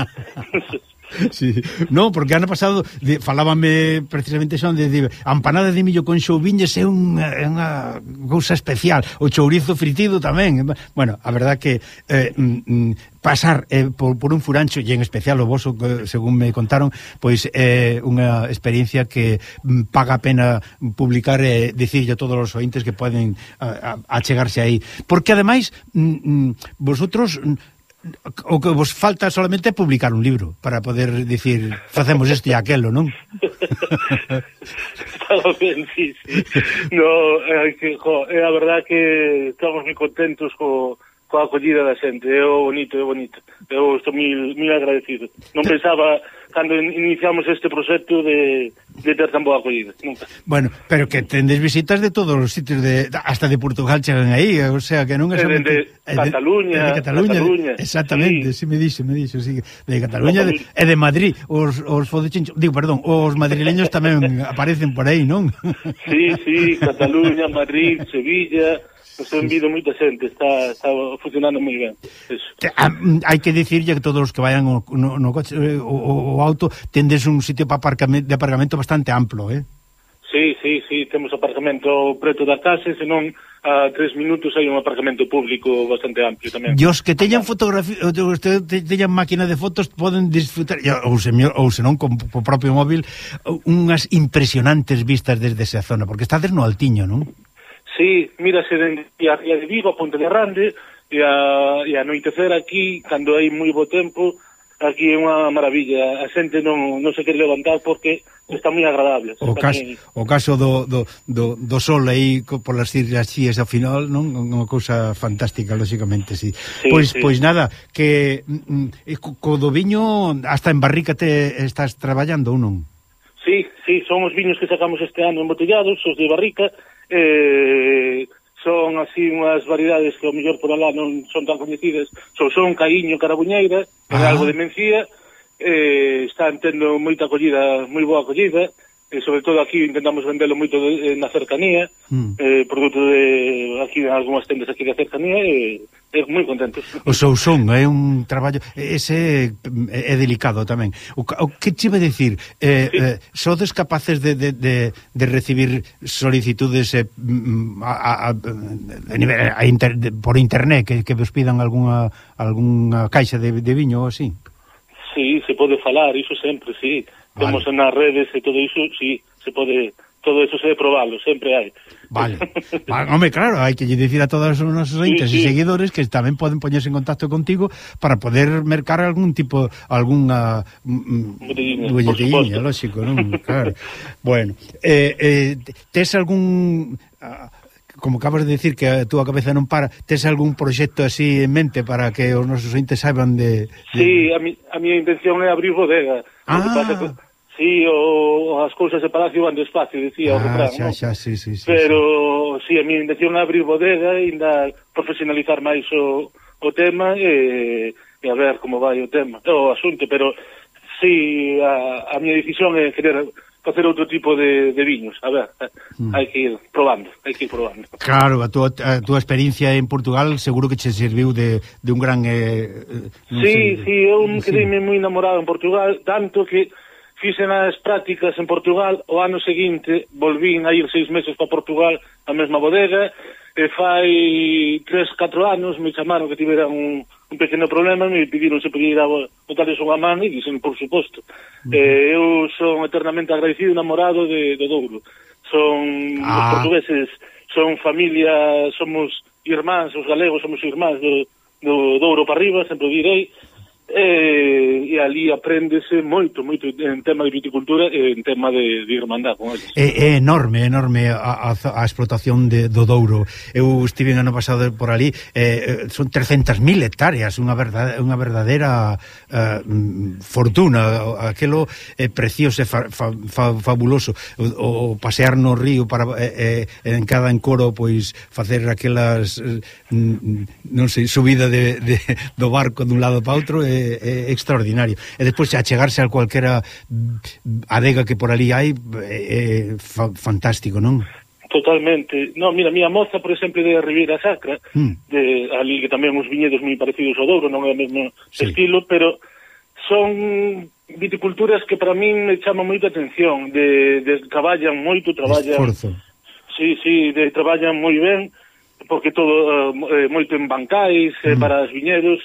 Sí. No, porque ano pasado de, falábame precisamente son de, de a empanada de millo con xouviñes é unha, unha cousa especial, o chourizo fritido tamén. Bueno, a verdad que eh, mm, pasar eh, por, por un furancho e en especial o voso, según me contaron, pois é eh, unha experiencia que mm, paga a pena publicar e eh, dicirlle a todos os ointes que poden a, a, achegarse aí, porque ademais mm, mm, vosotros o que vos falta solamente é publicar un libro para poder dicir facemos isto e aquelo, non? Está ben, sí, sí. No, é que, jo, é a verdad que estamos moi contentos co, coa acollida da xente, é o bonito, é bonito. Eu estou mil, mil agradecido. Non pensaba, cando iniciamos este proxecto, de, de ter tan boa acollida, nunca. Bueno, pero que tendes visitas de todos os sitios, de hasta de Portugal chegan aí, o sea, que non é somente... De, de Cataluña, de Cataluña, Cataluña. De, exactamente, sí. sí me dixo, me dixo, sí, de Cataluña de, e de Madrid, os, os fodechinchos, digo, perdón, os madrileños tamén aparecen por aí, non? Sí, sí, Cataluña, Madrid, Sevilla... Nos han vindo moita xente, está, está funcionando moi ben. Hai que dicirlle que todos os que vayan no, no coche o, o auto tendes un sitio para aparcamento, de aparcamento bastante amplo, eh? Sí, sí, sí, temos aparcamento preto da casa, senón a tres minutos hai un aparcamento público bastante amplio tamén. E os que teñan fotografía, os que teñan máquina de fotos poden disfrutar, ou se, ou se non con o propio móvil, unhas impresionantes vistas desde esa zona, porque estades no Altiño, non? Sí, mírase dende a Ría de Vigo, a Ponte de Rande, e a, e a anoitecer aquí, cando hai moi bo tempo, aquí é unha maravilla. A xente non, non se quere levantar porque está moi agradable. O caso, o caso do, do, do, do sol aí por las Islas Cíes ao final, non? Unha cousa fantástica, lógicamente, sí. sí pois, sí. pois nada, que mm, co do viño hasta en barrica te estás traballando ou non? Sí, sí, son os viños que sacamos este ano embotellados, os de barrica, eh... son así unhas variedades que ao mellor por alá non son tan coñecidas, son son Caíño, Carabuñeira, ah. algo de Mencía, eh, están tendo moita acollida, moi boa acollida, e sobre todo aquí intentamos vendelo moito de, na cercanía, mm. eh, produto de aquí en algunhas tendas aquí da cercanía, e é moi contentos. O Sousón é un traballo, ese é delicado tamén. O, o que te iba a dicir? Eh, sí. eh, sodes capaces de, de, de, de recibir solicitudes eh, a, a, a nivel, a inter, de, por internet que, que vos pidan algunha, algunha caixa de, de viño ou así? Sí, se pode falar, iso sempre, sí. Vale. Temos nas redes e todo iso, sí, se pode... Todo eso se debe probarlo, sempre hai. Vale. vale. Hombre, claro, hai que dicir a todos os nosos entes sí, sí. e seguidores que tamén poden poñerse en contacto contigo para poder mercar algún tipo, algunha bolletinha, lógico, non? Claro. Bueno, eh, eh, tes algún... como acabas de decir que a túa cabeza non para, tes algún proxecto así en mente para que os nosos entes saiban de... de... Sí, a, mi, a miña intención é abrir bodega. Ah, que pasa que... Sí, o, as cousas de palacio van despacio, decía ah, o refrán, xa, xa, sí, sí, sí, pero sí, a mi intención é abrir bodega e ainda profesionalizar máis o, o tema e, e a ver como vai o tema, o asunto, pero sí, a, a miña decisión é querer facer outro tipo de, de viños, a ver, mm. hai que ir probando, hai que ir probando. Claro, a túa, a túa experiencia en Portugal seguro que che serviu de, de un gran... Eh, sí, sei, sí, eu sí. quedeime moi enamorado en Portugal, tanto que fixen as prácticas en Portugal, o ano seguinte volvín a ir seis meses para Portugal a mesma bodega, e fai tres, catro anos me chamaron que tiveran un, un pequeno problema, me pediron se podía ir a botarles unha man e dixen, por suposto. Uh -huh. eh, eu son eternamente agradecido, enamorado de, de Douro. Son ah. os portugueses, son familia, somos irmáns, os galegos somos irmáns do, do Douro para arriba, sempre o direi. E, e ali apréndese moito, moito en tema de viticultura e en tema de, de irmandad con eles. É, é enorme, enorme a, a, a explotación de, do Douro. Eu estive ano pasado por ali, eh, son trescentas mil hectáreas, unha verdade, unha verdadeira eh, fortuna. Aquelo é precioso, é fa, fa, fa, fabuloso. O, o pasear no río para eh, eh, en cada encoro, pois facer aquelas eh, non sei, subida de, de, do barco dun lado para outro é é extraordinario. E despois achegarse a cualquera adega que por ali hai é fa fantástico, non? Totalmente. No, mira, miña moza, por exemplo, de Ribeira Sacra, mm. de ali que tamén uns viñedos moi parecidos ao Douro, non é o mesmo sí. estilo, pero son viticulturas que para min me chaman moita atención, de, de traballan moito, traballan... Esforzo. Sí, sí, de, traballan moi ben, porque todo uh, moito en bancais, mm. eh, para os viñedos,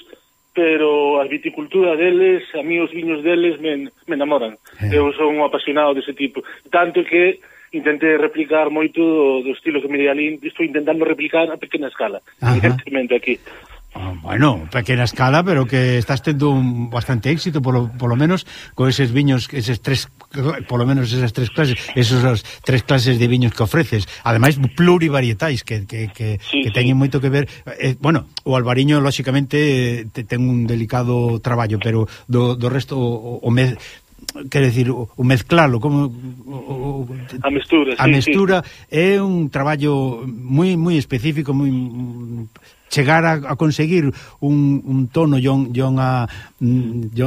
pero a viticultura deles, a mí os viños deles me, me enamoran. Eh. Eu son un apasionado dese tipo. Tanto que intentei replicar moito do, do estilo que me di ali, estou intentando replicar a pequena escala, evidentemente aquí. Ah, bueno, pequena escala, pero que estás tendo un bastante éxito, polo, polo menos, con eses viños, eses tres, polo menos esas tres clases, esos tres clases de viños que ofreces, ademais plurivarietais, que, que, que, sí, que teñen sí. moito que ver. Eh, bueno, o albariño, lóxicamente, te, ten un delicado traballo, pero do, do resto, o, o me... quero decir, o mezclalo como o, o, a mestura, a sí, mestura sí. é un traballo moi moi específico, moi chegar a, a conseguir un, un tono e unha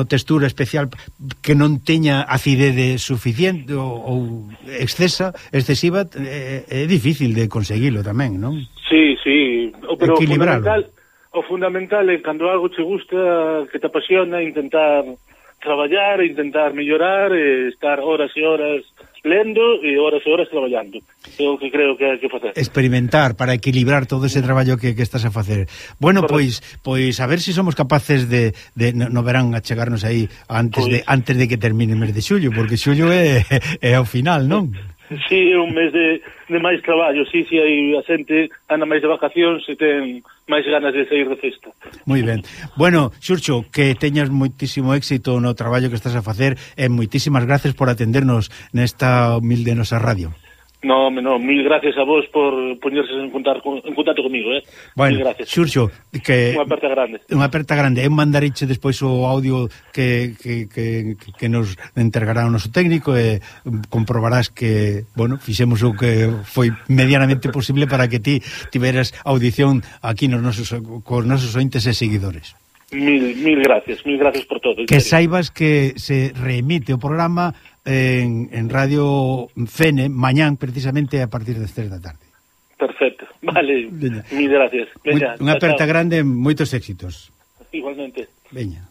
textura especial que non teña acidez suficiente ou, ou excesa, excesiva, é, é difícil de conseguilo tamén, non? Sí, sí, pero o fundamental, o fundamental é cando algo che gusta, que te apasiona, intentar traballar, intentar mellorar, e estar horas e horas lendo e horas e horas traballando. É o que creo que hai que facer. Experimentar para equilibrar todo ese traballo que, que estás a facer. Bueno, pois pois a ver se si somos capaces de, de no, no verán a chegarnos aí antes pues, de antes de que termine o mes de xullo, porque xullo é, é ao final, non? Sí, é un mes de, de máis traballo, sí, sí, hai a xente anda máis de vacacións e ten máis ganas de sair de festa. Moi ben. Bueno, Xurxo, que teñas moitísimo éxito no traballo que estás a facer e moitísimas gracias por atendernos nesta humilde nosa radio. No, no, mil gracias a vos por poñerse en contacto, en contacto comigo, eh? Bueno, mil gracias. Xurxo, que unha aperta grande. Unha aperta grande. Eu mandariche despois o audio que, que, que, que nos entregará o noso técnico e comprobarás que, bueno, fixemos o que foi medianamente posible para que ti tiveras audición aquí nos nosos, cos nosos ointes e seguidores. Mil, mil gracias, mil gracias por todo. Que saibas que se reemite o programa en, en Radio Fene mañán precisamente a partir das tres da tarde. Perfecto, vale, Veña. Mil gracias. Veña, unha aperta chao. Grande, moitos éxitos. Igualmente. Veña.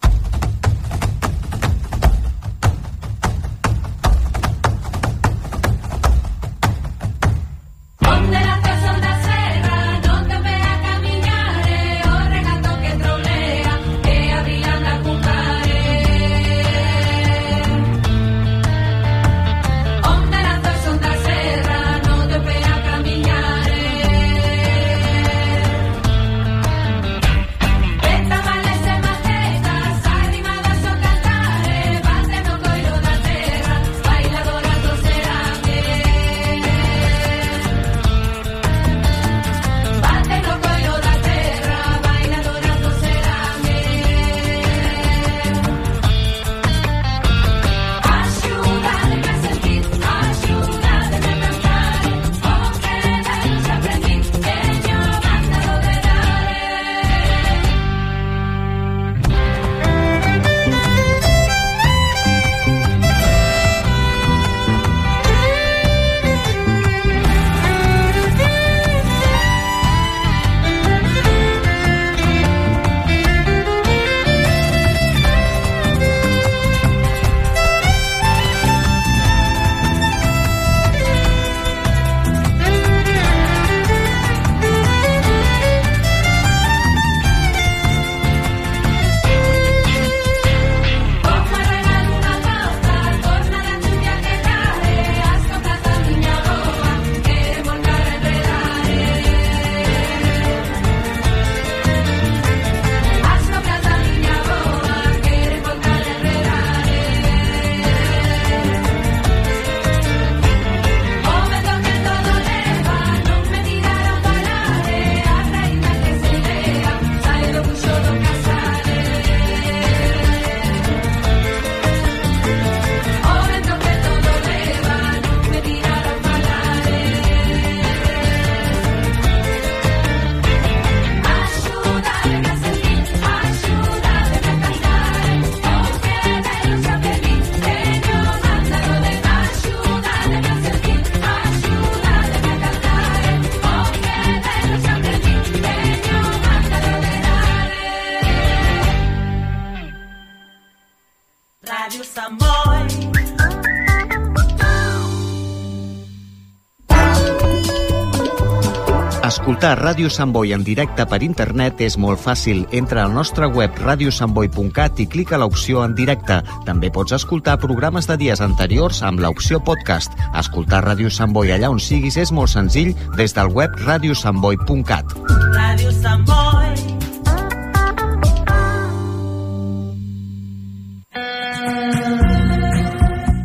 Escoltar Ràdio Sant Boi en directe per internet és molt fàcil. Entra al nostre web radio sant boi punt cat i clica l'opció en directe. També pots escoltar programes de dies anteriors amb l'opció podcast. Escoltar Ràdio Sant Boi allà on siguis és molt senzill des del web radio sant boi punt cat. Ràdio Sant Boi.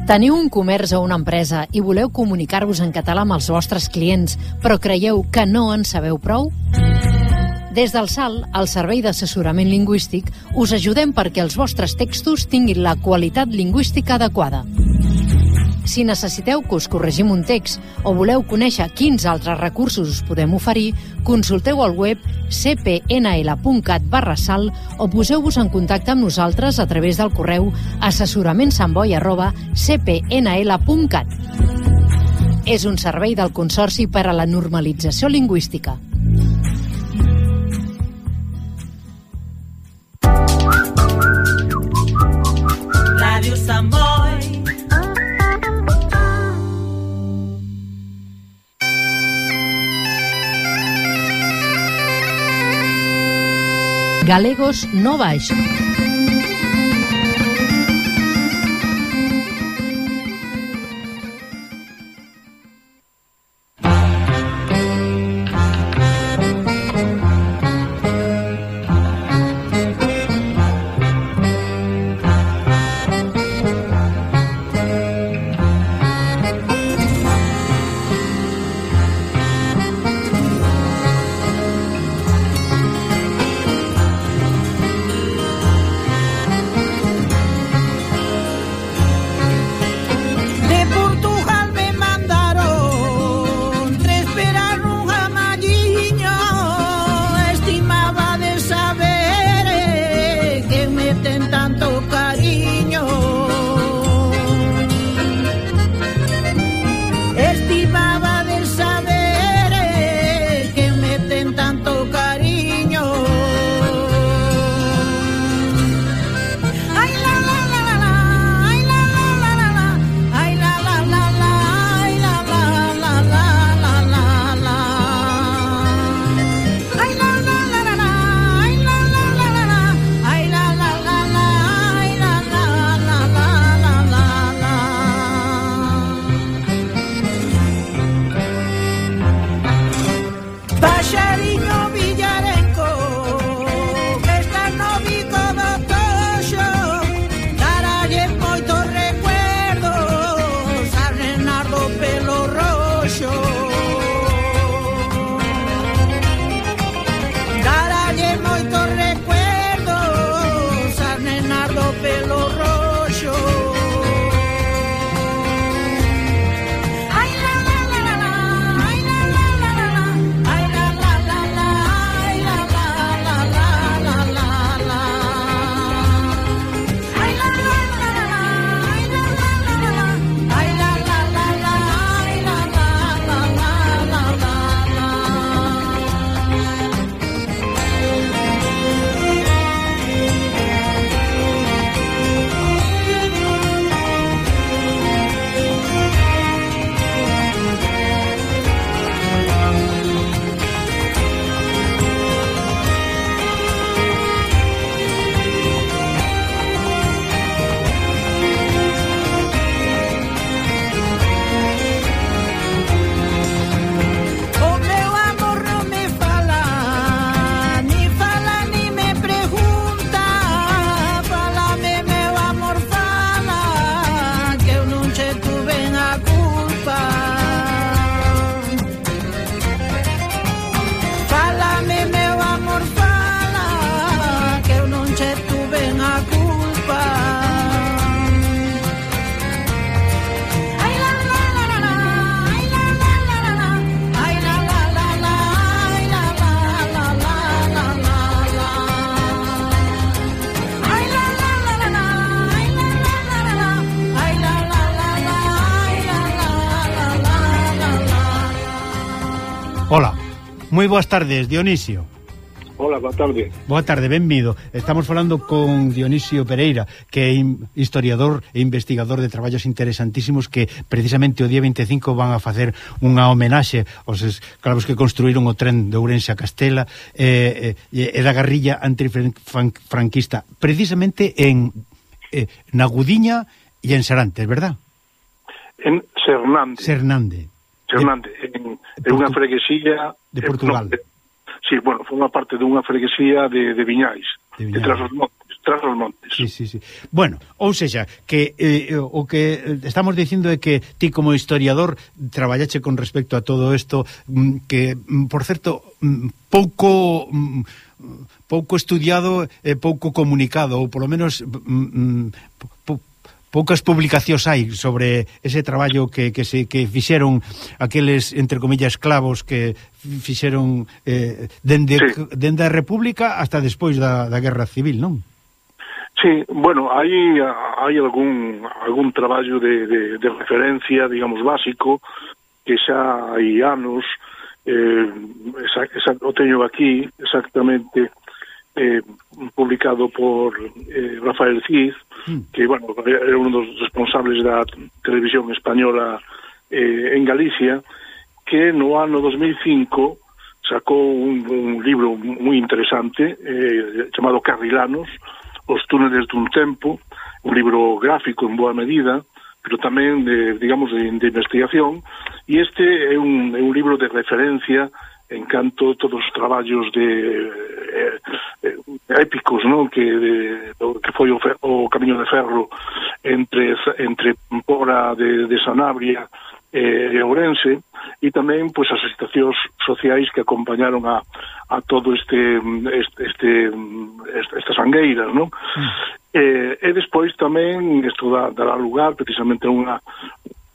Teniu un comerç o una empresa i voleu comunicar-vos en català amb els vostres clients, però creieu que no en sabeu prou? Des del S A L, el Servei d'Assessorament Lingüístic, us ajudem perquè els vostres textos tinguin la qualitat lingüística adequada. Si necessiteu que us corregim un text o voleu conèixer quins altres recursos us podem oferir, consulteu al web c p n l punt cat barra sal o poseu-vos en contacte amb nosaltres a través del correu assessoramentsantboi arroba c p n l punt cat. És un servei del Consorci per a la Normalització Lingüística. Ràdio Sant Boi. Galegos no baixo. Moi boas tardes, Dionisio. Hola, boa tarde. Boa tarde, benvido. Estamos falando con Dionisio Pereira, que é historiador e investigador de traballos interesantísimos que precisamente o día veinticinco van a facer unha homenaxe aos escravos que construíron o tren de Ourense a Castela e, e, e da guerrilla antifranquista, precisamente en eh, na Gudiña e en Serantes, verdad? En Sernande. Sernande. Sernande, de, en, en unha freguesía de Portugal. Eh, no, Sí, bueno, foi unha parte dunha freguesía de, de Viñais, de, Viñais. de tras os montes, tras os montes. Sí, sí, sí. Bueno, ou seja, que eh, o que estamos dicindo é que ti como historiador traballache con respecto a todo isto, que, por certo, pouco pouco estudiado e pouco comunicado, ou polo menos pouco poucas publicacións hai sobre ese traballo que, que se que fixeron aqueles, entre comillas, esclavos que fixeron eh, dende, sí. dende a República hasta despois da, da Guerra Civil, non? Sí, bueno, hai, hai algún, algún traballo de, de, de referencia, digamos, básico, que xa hai anos, eh, esa, esa, o teño aquí exactamente, Eh, publicado por eh, Rafael Cid, mm. que, bueno, era uno dos responsables da televisión española eh, en Galicia, que no ano dos mil cinco sacou un, un libro moi interesante eh, chamado Carrilanos, Os túneles dun tempo, un libro gráfico en boa medida, pero tamén de, digamos, de, de investigación, e este é un, é un libro de referencia en canto todos os traballos de eh, eh, épicos, non, que de, que foi o, fer, o Camiño de Ferro entre entre Pora de, de Sanabria e eh, Ourense, e tamén pois as situacións sociais que acompañaron a, a todo este este, este estas sangueiras, non? Mm. Eh, e despois tamén isto dá, dará lugar precisamente a unha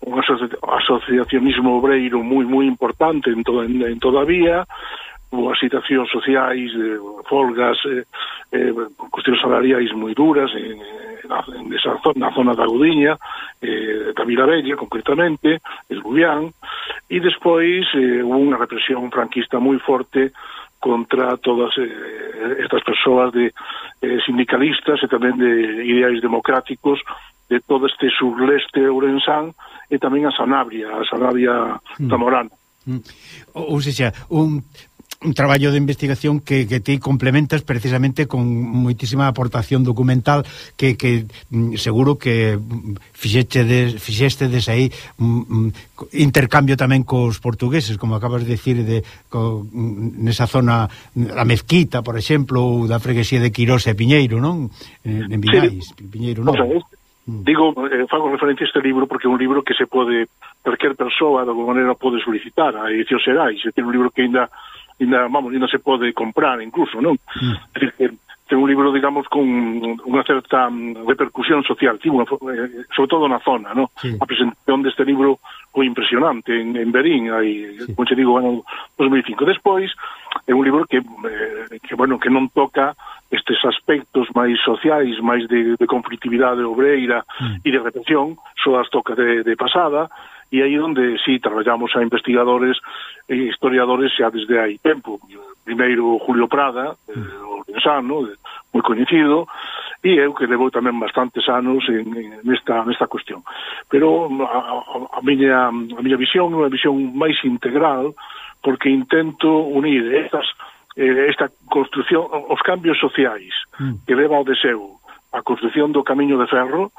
un asociacionismo obreiro moi moi importante en, to, en, en toda a vía, as situacións sociais, eh, folgas, eh, eh, cuestións salariais moi duras en, en, en esa zona, na zona da Gudiña, eh, da Vila Bella, concretamente, el Gubián, e despois eh, unha represión franquista moi forte contra todas eh, estas persoas de eh, sindicalistas e tamén de ideais democráticos de todo este surleste ourensán e tamén a Sanabria, a Sanabria mm. zamorana. Mm. Ou seja, un, un traballo de investigación que, que ti complementas precisamente con moitísima aportación documental que, que seguro que fixeste fixestedes aí um, intercambio tamén cos portugueses, como acabas de decir, de, co, nesa zona, a Mezquita, por exemplo, ou da freguesía de Quirós e Piñeiro, non? En, en Viñais, sí. Piñeiro non. O sea, este Digo, eh, fago referencia a este libro porque é un libro que se pode, cualquier persoa de alguma maneira pode solicitar a edición Xerais, é un libro que ainda, ainda, vamos, ainda se pode comprar incluso, non? Mm. É dicir, que ten un libro, digamos, con unha certa repercusión social, tipo, sobre todo na zona, non? Sí. A presentación deste libro foi impresionante en, en Berín, aí, sí. Como te digo, ano dos mil cinco. Despois, é un libro que, eh, que bueno, que non toca estes aspectos máis sociais, máis de, de conflictividade obreira mm. e de represión, só as toca de, de pasada, e aí onde sí traballamos a investigadores e historiadores xa desde hai tempo. Primeiro Julio Prada, mm. eh, ourensano, moi coñecido, e eu que levo tamén bastantes anos en, en nesta, nesta cuestión. Pero a, a, miña, a miña visión é unha visión máis integral, porque intento unir estas eh, esta construción, os cambios sociais mm. que leva ao deseo a construción do Camiño de Ferro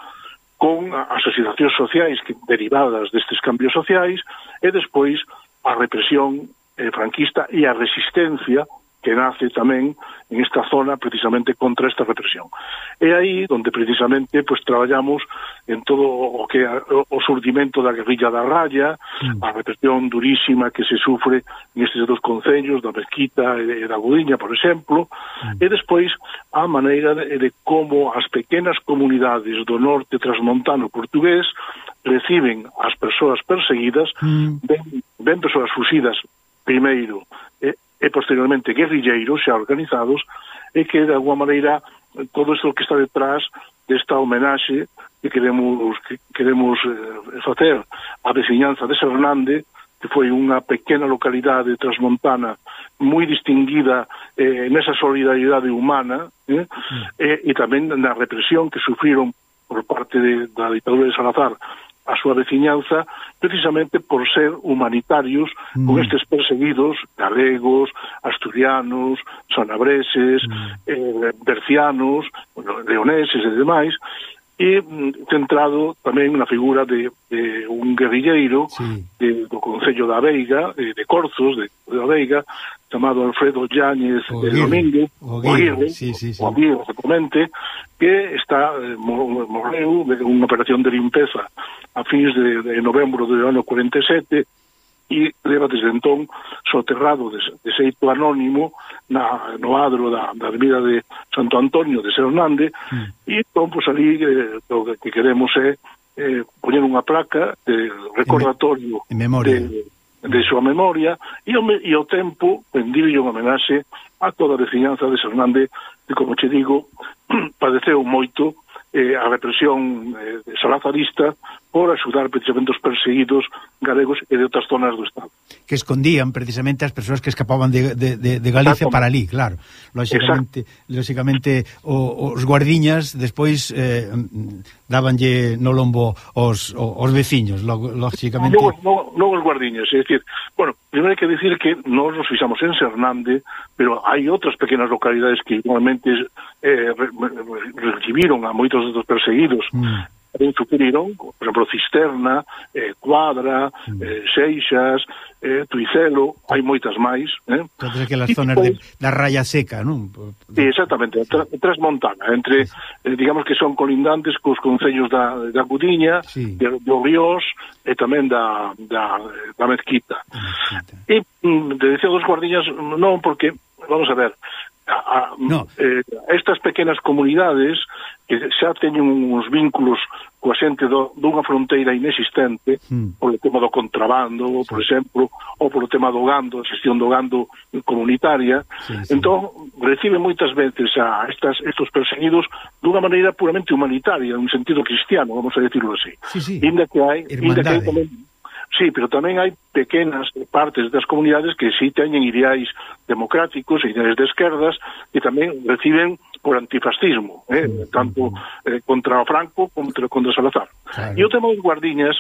con as asociacións sociais que, derivadas destes cambios sociais e despois a represión eh, franquista e a resistencia que nace tamén en esta zona precisamente contra esta represión. É aí onde precisamente pues, traballamos en todo o que o surdimento da guerrilla da Raya, mm. a represión durísima que se sufre nestes dos concellos, da Mezquita e da Gudiña, por exemplo, mm. e despois a maneira de, de como as pequenas comunidades do norte transmontano portugués reciben as persoas perseguidas, mm. ben, ben persoas fusidas primeiro e e posteriormente guerrilleiros xa organizados e que de alguma maneira todo isto que está detrás desta homenaxe que queremos que queremos eh, facer á veciñanza de Sernande que foi unha pequena localidade transmontana moi distinguida eh, nesa solidaridade humana, eh, mm. eh, e tamén na represión que sufriron por parte de, da ditadura de Salazar a súa veciñanza, precisamente por ser humanitarios mm. con estes perseguidos galegos, asturianos, sanabreses, mm. eh, bercianos, bueno, leoneses e demais, e mm, centrado tamén na figura de, de un guerrilleiro sí. de, do Concello da Veiga, de, de Corzos, de, de da Veiga, chamado Alfredo Yáñez de Domingo, o Aguirre, sí, sí, sí. o Aguirre, exactamente, que está eh, morreu de unha operación de limpeza a fins de, de novembro do ano cuarenta e sete e leva desde entón soterrado de, de xeito anónimo na, no adro da, da avenida de Santo Antonio de Sernández mm. e entón, pois, ali eh, o que queremos é eh, poñer unha placa de recordatorio en, me, en memoria de, de súa memoria e o, e o tempo rendirlle unha homenaxe a toda a veciñanza de Sernández que, como che digo, padeceu moito eh, a represión eh, salazarista por axudar precisamente os perseguidos galegos e de outras zonas do Estado. Que escondían precisamente as persoas que escapaban de, de, de, de Galicia para ali, claro. Lóxicamente, lóxicamente o, os guardiñas despois eh, dabanlle no lombo os, os veciños, lóxicamente. Non, non, non os guardiñas, é dicir, bueno, primeiro hai que dicir que nós nos fixamos en Sernández, pero hai outras pequenas localidades que igualmente eh, re, re, recibiron a moitos dos perseguidos, mm. tamén sufriron, por exemplo, Cisterna, eh, Cuadra, mm. eh, Seixas, eh, Tuicelo, hai moitas máis. Eh? Todas aquelas zonas de, da raya seca, non? Sí, exactamente, tra, Transmontana, entre, eh, digamos que son colindantes cos concellos da, da Gudiña, sí. de, de Ríos e tamén da, da, da Mezquita. Mezquita. E, mm, de decir dos guardiñas, non, porque, vamos a ver, a, a, no. eh, estas pequenas comunidades que xa teñen uns vínculos coa xente do, dunha fronteira inexistente mm. por o tema do contrabando, sí. por exemplo, ou por o tema do gando, a xestión do gando comunitaria, sí, sí. entón reciben moitas veces a estas, estos perseguidos dunha maneira puramente humanitaria, un sentido cristiano, vamos a decirlo así. Sí, sí. Inda que hai, inda que hai tamén, sí, pero tamén hai pequenas partes das comunidades que sí teñen ideais democráticos, ideais de esquerdas, que tamén reciben por antifascismo, eh, mm, tanto eh, contra o Franco como contra, contra Salazar. Claro. E o tema dos guardiñas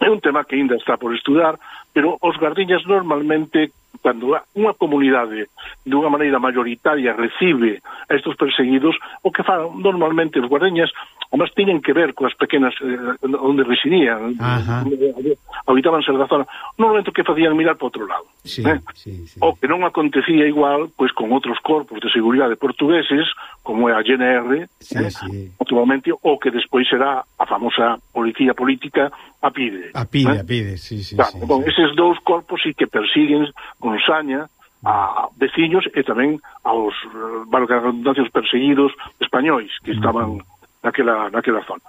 é un tema que ainda está por estudar, pero os guardiñas normalmente, cando unha comunidade de unha maneira mayoritaria recibe a estes perseguidos, o que fan normalmente os guardiñas, además, tienen que ver coas pequenas eh, onde residían, habitaban ser da zona, normalmente o que facían mirar para outro lado. Sí, eh? sí, sí. O que non acontecía igual pois con outros corpos de seguridade portugueses, como é a G N R, sí, eh? sí. actualmente, o que despois será a famosa policía política, a PIDE. A PIDE, eh? a PIDE, sí, sí. Claro, sí, bon, sí. Eses dous corpos sí que persiguen con saña a veciños e tamén aos, valga a redundancia, os perseguidos españois que estaban naquela, naquela zona.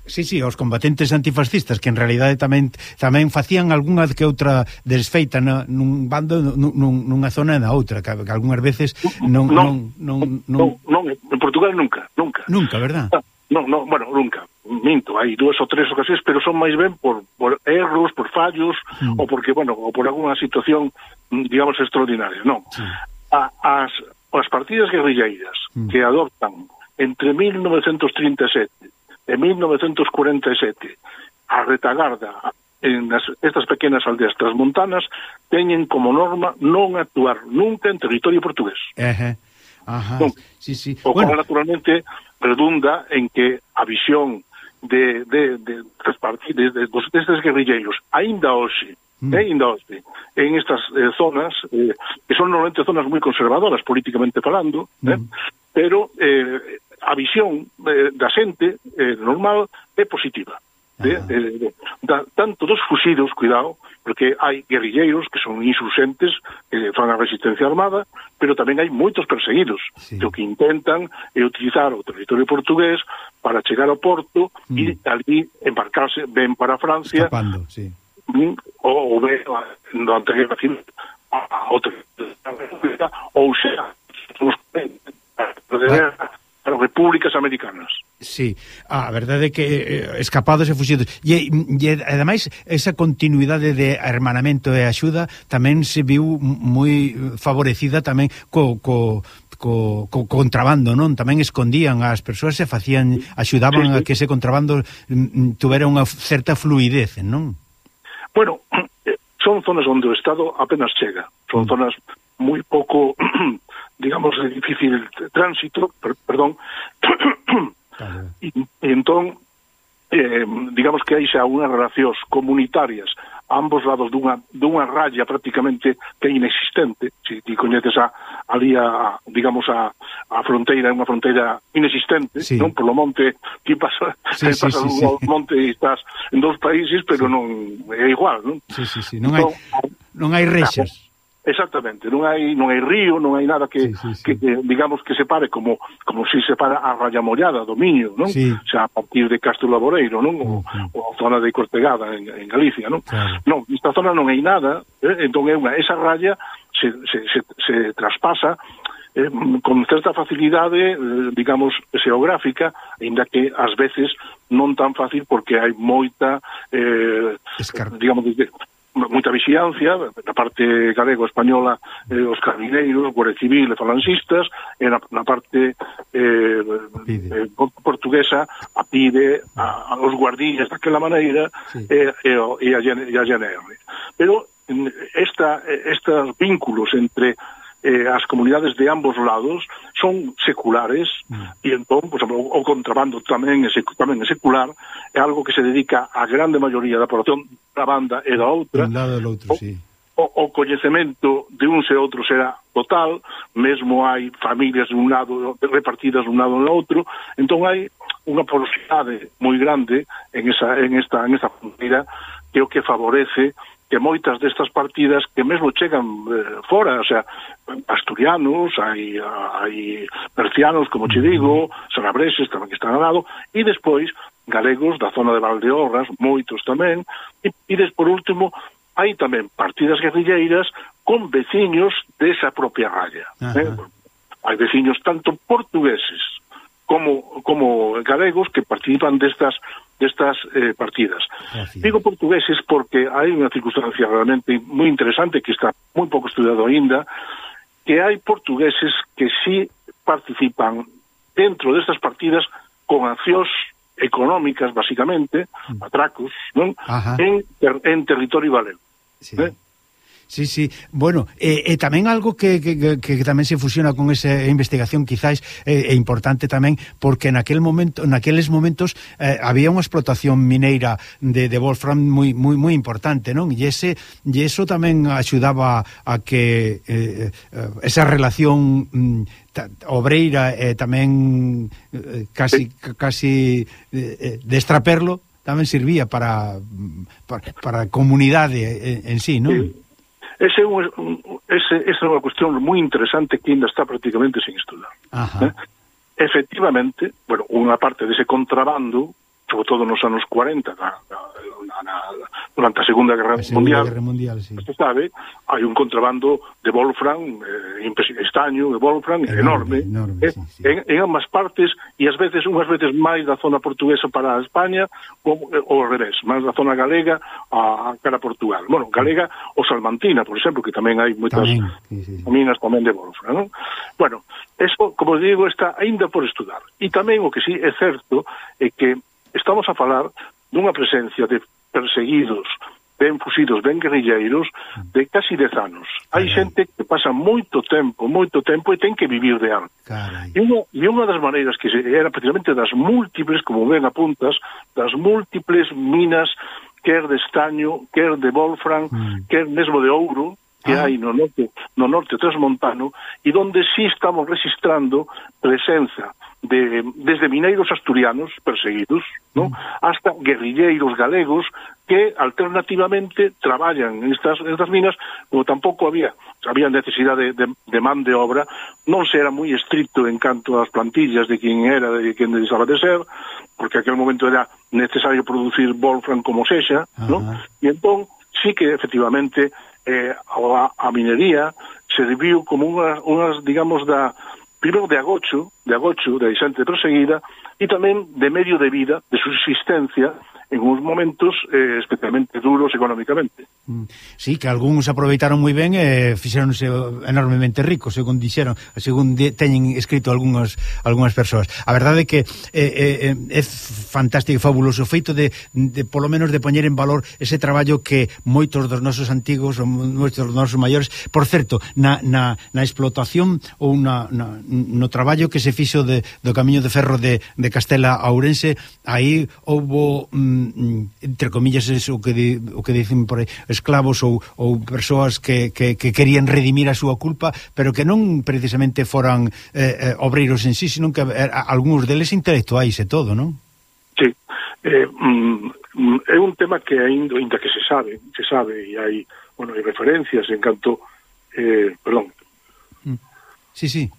Sí, sí, os combatentes antifascistas que en realidade tamén tamén facían algunha que outra desfeita na, nun bando, nun, nunha zona e na outra, que, que algunhas veces non non non, non, non, non en Portugal nunca, nunca. Nunca, verdad? Non, non, bueno, nunca. Minto, hai dúas ou tres ocasións, pero son máis ben por, por erros, por fallos, mm. ou porque, bueno, ou por alguna situación, digamos, extraordinaria. Non. Sí. A, as, as partidas guerrilleiras mm. que adoptan entre mil novecentos trinta e sete e mil novecentos cuarenta e sete a retagarda en as, estas pequenas aldeas transmontanas teñen como norma non actuar nunca en territorio portugués. Ajá. Ajá. Non. Sí, sí. O bueno. cual naturalmente redunda en que a visión de, de, de, de, partidos, de, de destes guerrilleiros aínda hoxe Mm. Eh, ainda hoxe, en estas eh, zonas eh, que son normalmente zonas moi conservadoras políticamente falando, mm. eh, pero eh, a visión eh, da xente eh, normal é positiva. De, de, de, da, tanto dos fusidos, cuidado, porque hai guerrilleiros que son insurxentes, que fan a resistencia armada, pero tamén hai moitos perseguidos, sí. que o que intentan é utilizar o territorio portugués para chegar ao porto mm. e ali embarcarse ben para Francia, escapando, sí. ou, ou ben durante a guerra civil a outra ou sea, os para repúblicas americanas. Sí, a verdade é que eh, escapados e fuxidos. E, e ademais, esa continuidade de hermanamento e axuda tamén se viu moi favorecida tamén co, co, co, co contrabando, non? Tamén escondían as persoas e facían, axudaban sí, sí. a que ese contrabando mm, tuvera unha certa fluidez, non? Bueno, son zonas onde o Estado apenas chega. Son mm. zonas moi pouco, digamos, de difícil tránsito, per, perdón, claro. e, e entón, eh, digamos que hai xa unhas relacións comunitarias a ambos lados dunha, dunha raya prácticamente que é inexistente. Se ti coñeces a, ali a, digamos, a, a fronteira, é unha fronteira inexistente, sí. non? Por lo monte, ti pasa, sí, sí, pasa sí, un sí. monte e estás en dous países, pero sí. non é igual, non? Sí, sí, sí, non hai, entón, non hai rexas. Exactamente, non hai non hai río, non hai nada que, sí, sí, sí. que, que digamos que separe como como si separa a Raya Mollada do Miño, non? Sí. O sea, a partir de Castro Laboreiro, non? Uh -huh. O, o a zona de Cortegada en, en Galicia, non? Claro. Non, esta zona non hai nada, eh? Entón é unha esa raya se se se, se traspasa eh, con certa facilidade, eh, digamos, xeográfica, aínda que ás veces non tan fácil porque hai moita eh, digamos de moita vixilancia na parte galego-española, eh, os carabineiros, Guardia Civil e falanxistas, e na, na parte eh, eh, portuguesa a PIDE, a, a os guardillas daquela maneira, sí. e, e, e a, a G N R. Pero esta, estes vínculos entre eh, as comunidades de ambos lados son seculares, mm. e entón, por exemplo, o contrabando tamén é, tamén é secular, é algo que se dedica a grande maioría da población da banda e da outra. Un lado do outro, o, sí. O, o coñecemento de uns e outros será total, mesmo hai familias de un lado repartidas de un lado no outro, entón hai unha porosidade moi grande en esa en esta en esta fronteira que é o que favorece que moitas destas partidas que mesmo chegan eh, fora, o sea, asturianos, hai, hai percianos, como che digo, sanabreses tamén que están ao lado, e despois galegos da zona de Valdeorras, moitos tamén, e, e des, por último, hai tamén partidas guerrilleiras con veciños desa propia raya. Eh? Hai veciños tanto portugueses como como galegos que participan destas destas eh, partidas. Así. Digo portugueses porque hai unha circunstancia realmente moi interesante que está moi pouco estudiado aínda, que hai portugueses que sí participan dentro destas partidas con accións económicas, basicamente, mm. atracos, non? En, ter, en territorio galego. Sí. ¿Eh? Sí, sí, bueno, e eh, eh, tamén algo que, que, que, que tamén se fusiona con esa investigación quizás é eh, importante tamén porque naquel momento, naqueles momentos eh, había unha explotación mineira de, de Wolfram moi, moi, moi importante, non? E ese e eso tamén axudaba a que eh, esa relación mm, ta, obreira e eh, tamén eh, casi, casi eh, de extraperlo tamén servía para, para, para a comunidade en, en sí, non? Sí. Ese é un, ese, esa é unha cuestión moi interesante que ainda está prácticamente sin estudar. Eh? Efectivamente, bueno, unha parte dese contrabando, sobre todo nos anos cuarenta, na, na, na, durante a Segunda Guerra a Mundial, Guerra Mundial sí. se sabe, hai un contrabando de Wolfram, eh, estaño de Wolfram, enorme, enorme, enorme eh, sí, sí. En, en ambas partes, e ás veces, unhas veces máis da zona portuguesa para a España, ou ao revés, máis da zona galega a, a cara a Portugal. Bueno, galega o Salmantina, por exemplo, que tamén hai moitas tamén, sí, sí, sí. minas tamén de Wolfram, non? Bueno, eso, como digo, está aínda por estudar. E tamén o que sí é certo é que estamos a falar dunha presencia de perseguidos, ben fusidos, ben guerrilleiros, de casi dez anos. Hai xente que pasa moito tempo, moito tempo e ten que vivir de algo. E unha, e unha das maneiras que se, era precisamente das múltiples, como ben apuntas, das múltiples minas, quer de estaño, quer de Wolfram, mm. quer mesmo de ouro, que ah. hai no norte, no norte transmontano, e donde sí estamos registrando presenza de, desde mineiros asturianos perseguidos, ¿no? Mm. hasta guerrilleiros galegos que alternativamente traballan en estas, en estas minas, como tampouco había había necesidade de, de, de man de obra, non se era moi estricto en canto ás plantillas de quen era, de quen desaba de ser, porque aquel momento era necesario producir Wolfram como sexa, ¿no? E entón sí que efectivamente eh, a, a minería serviu como unhas, unhas digamos, da primeiro de agocho, de agocho, de xente perseguida, e tamén de medio de vida, de subsistencia, en uns momentos eh, especialmente duros económicamente. Sí, que algúns aproveitaron moi ben e eh, fixeronse enormemente ricos, según dixeron, según de, teñen escrito algunhas algunhas persoas. A verdade é que eh, eh, é fantástico e fabuloso o feito de, de polo menos de poñer en valor ese traballo que moitos dos nosos antigos ou moitos dos nosos maiores, por certo, na, na, na explotación ou na, na, no traballo que se fixo de, do camiño de ferro de, de Castela a Ourense, aí houbo mm, entre comillas eso que di, o que dicen por aí esclavos ou, ou persoas que, que, que querían redimir a súa culpa, pero que non precisamente foran eh, eh, obreiros en sí, sino que eh, algúns deles intelectuais e todo, non? Sí, eh, mm, é un tema que ainda, ainda que se sabe, se sabe, e hai, bueno, hai referencias en canto, eh, perdón, sí, sí,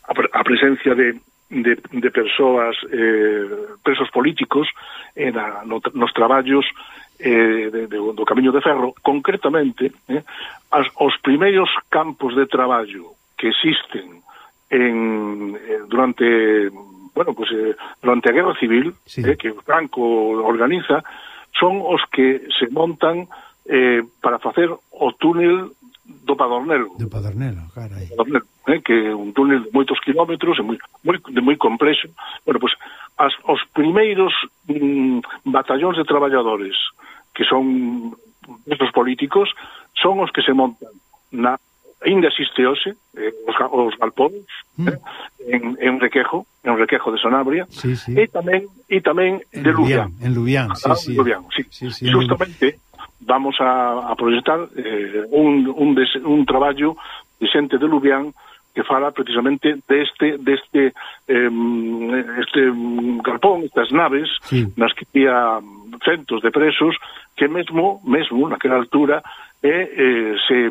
a, a presencia de de, de persoas eh, presos políticos eh, na, no, nos traballos eh, de, de, do Camiño de Ferro, concretamente eh, as, os primeiros campos de traballo que existen en, eh, durante bueno, pues, eh, durante a Guerra Civil, sí. eh, que Franco organiza, son os que se montan eh, para facer o túnel do Padornelo. Do Padornelo, carai. Padornelo, eh, que é un túnel de moitos kilómetros, e moi, moi, de moi complexo. Bueno, pues, as, os primeiros mm, batallóns de traballadores que son estos políticos son os que se montan na ainda existe hoxe eh, os, os galpóns mm. eh, en, en Requejo, en Requejo de Sanabria, sí, sí. e tamén e tamén en de Lubián. En Lubián, sí, sí. Lubián, sí. sí, sí Justamente vamos a, a proyectar eh, un, un, des, un traballo de xente de Lubián que fala precisamente deste deste eh, este galpón, estas naves, sí. nas que había centos de presos que mesmo, mesmo naquela altura eh, eh, se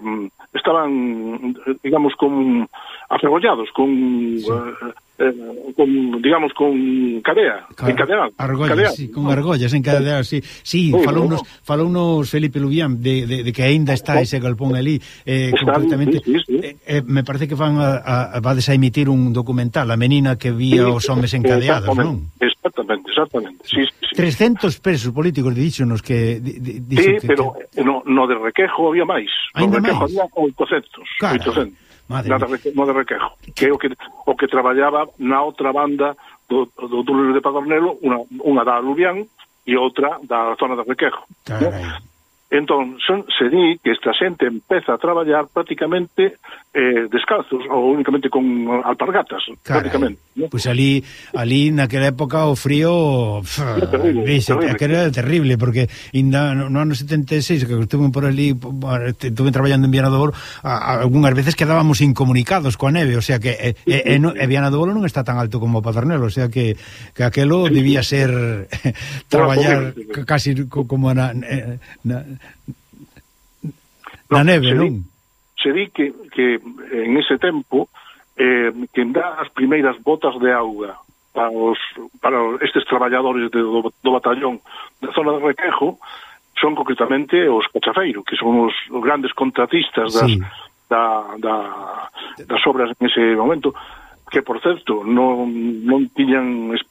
estaban, digamos, con afergollados, con sí. eh, eh, con, digamos, con cadea, Car encadeados. Argollas, cadea, sí, con ¿no? argollas encadeadas, sí. Sí, sí falounos, no. falounos Felipe Lubián de, de, de que aínda está ese galpón ali, eh, completamente. Sí, sí, sí. Eh, eh, me parece que van a, a, vades a emitir un documental, a menina que vía sí, os homes encadeados, non? Exactamente, exactamente. Sí, sí, sí. trescentos presos políticos, díxonos que... Di, di, sí, que, pero que... no, no de Requejo había máis. No Requejo máis? Había oitocentos. Cara. oitocentos. Madre na de, no de Requejo, que é o que, o que traballaba na outra banda do, do túnel de Padornelo, unha, unha da Lubián e outra da zona de Requejo. ¿no? Entón, son, se di que esta xente empeza a traballar prácticamente eh, descalzos ou únicamente con alpargatas. Carai, prácticamente. ¿no? Pois pues ali, ali naquela época o frío pff, terrible, veis, terrible. Era terrible, porque inda no, no ano setenta e seis que estuve por ali, estuve traballando en Viana do Bolo, algunhas veces quedábamos incomunicados coa neve, o sea que e, e, e, no, e Viana do Bolo non está tan alto como Padornelo, o sea que, que aquelo debía ser traballar casi como na... na na no, neve, se non? Di, se di que, que en ese tempo eh, que dá as primeiras botas de auga para os para estes traballadores de, do, do batallón da zona de Requejo son concretamente os cachafeiros, que son os, os grandes contratistas das, sí. da, da, das obras en ese momento, que, por certo, non, non tiñan es,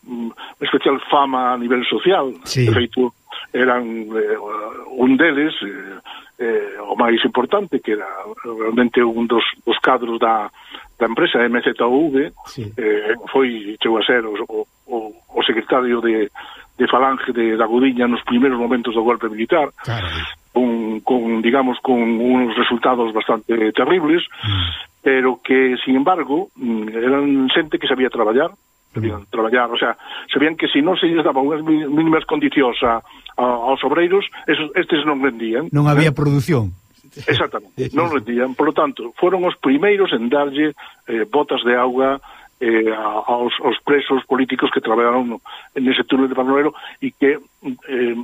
especial fama a nivel social. Sí. De feito, eran eh, un deles, eh, eh, o máis importante, que era realmente un dos, dos cadros da, da empresa M Z U V, sí. eh, foi, chegou a ser o, o, o secretario de, de Falange de, da Gudiña nos primeiros momentos do golpe militar, con, con, digamos, con unos resultados bastante terribles, mm. pero que, sin embargo, eran xente que sabía traballar, sabían mm. traballar, o sea, sabían que se non se lles daban unhas mínimas condicións a, a, aos obreiros, esos, estes non rendían. Non había eh? produción. Exactamente, non rendían, por lo tanto, foron os primeiros en darlle eh, botas de auga eh, aos, aos presos políticos que traballaron en ese túnel de Padornelo e que, eh,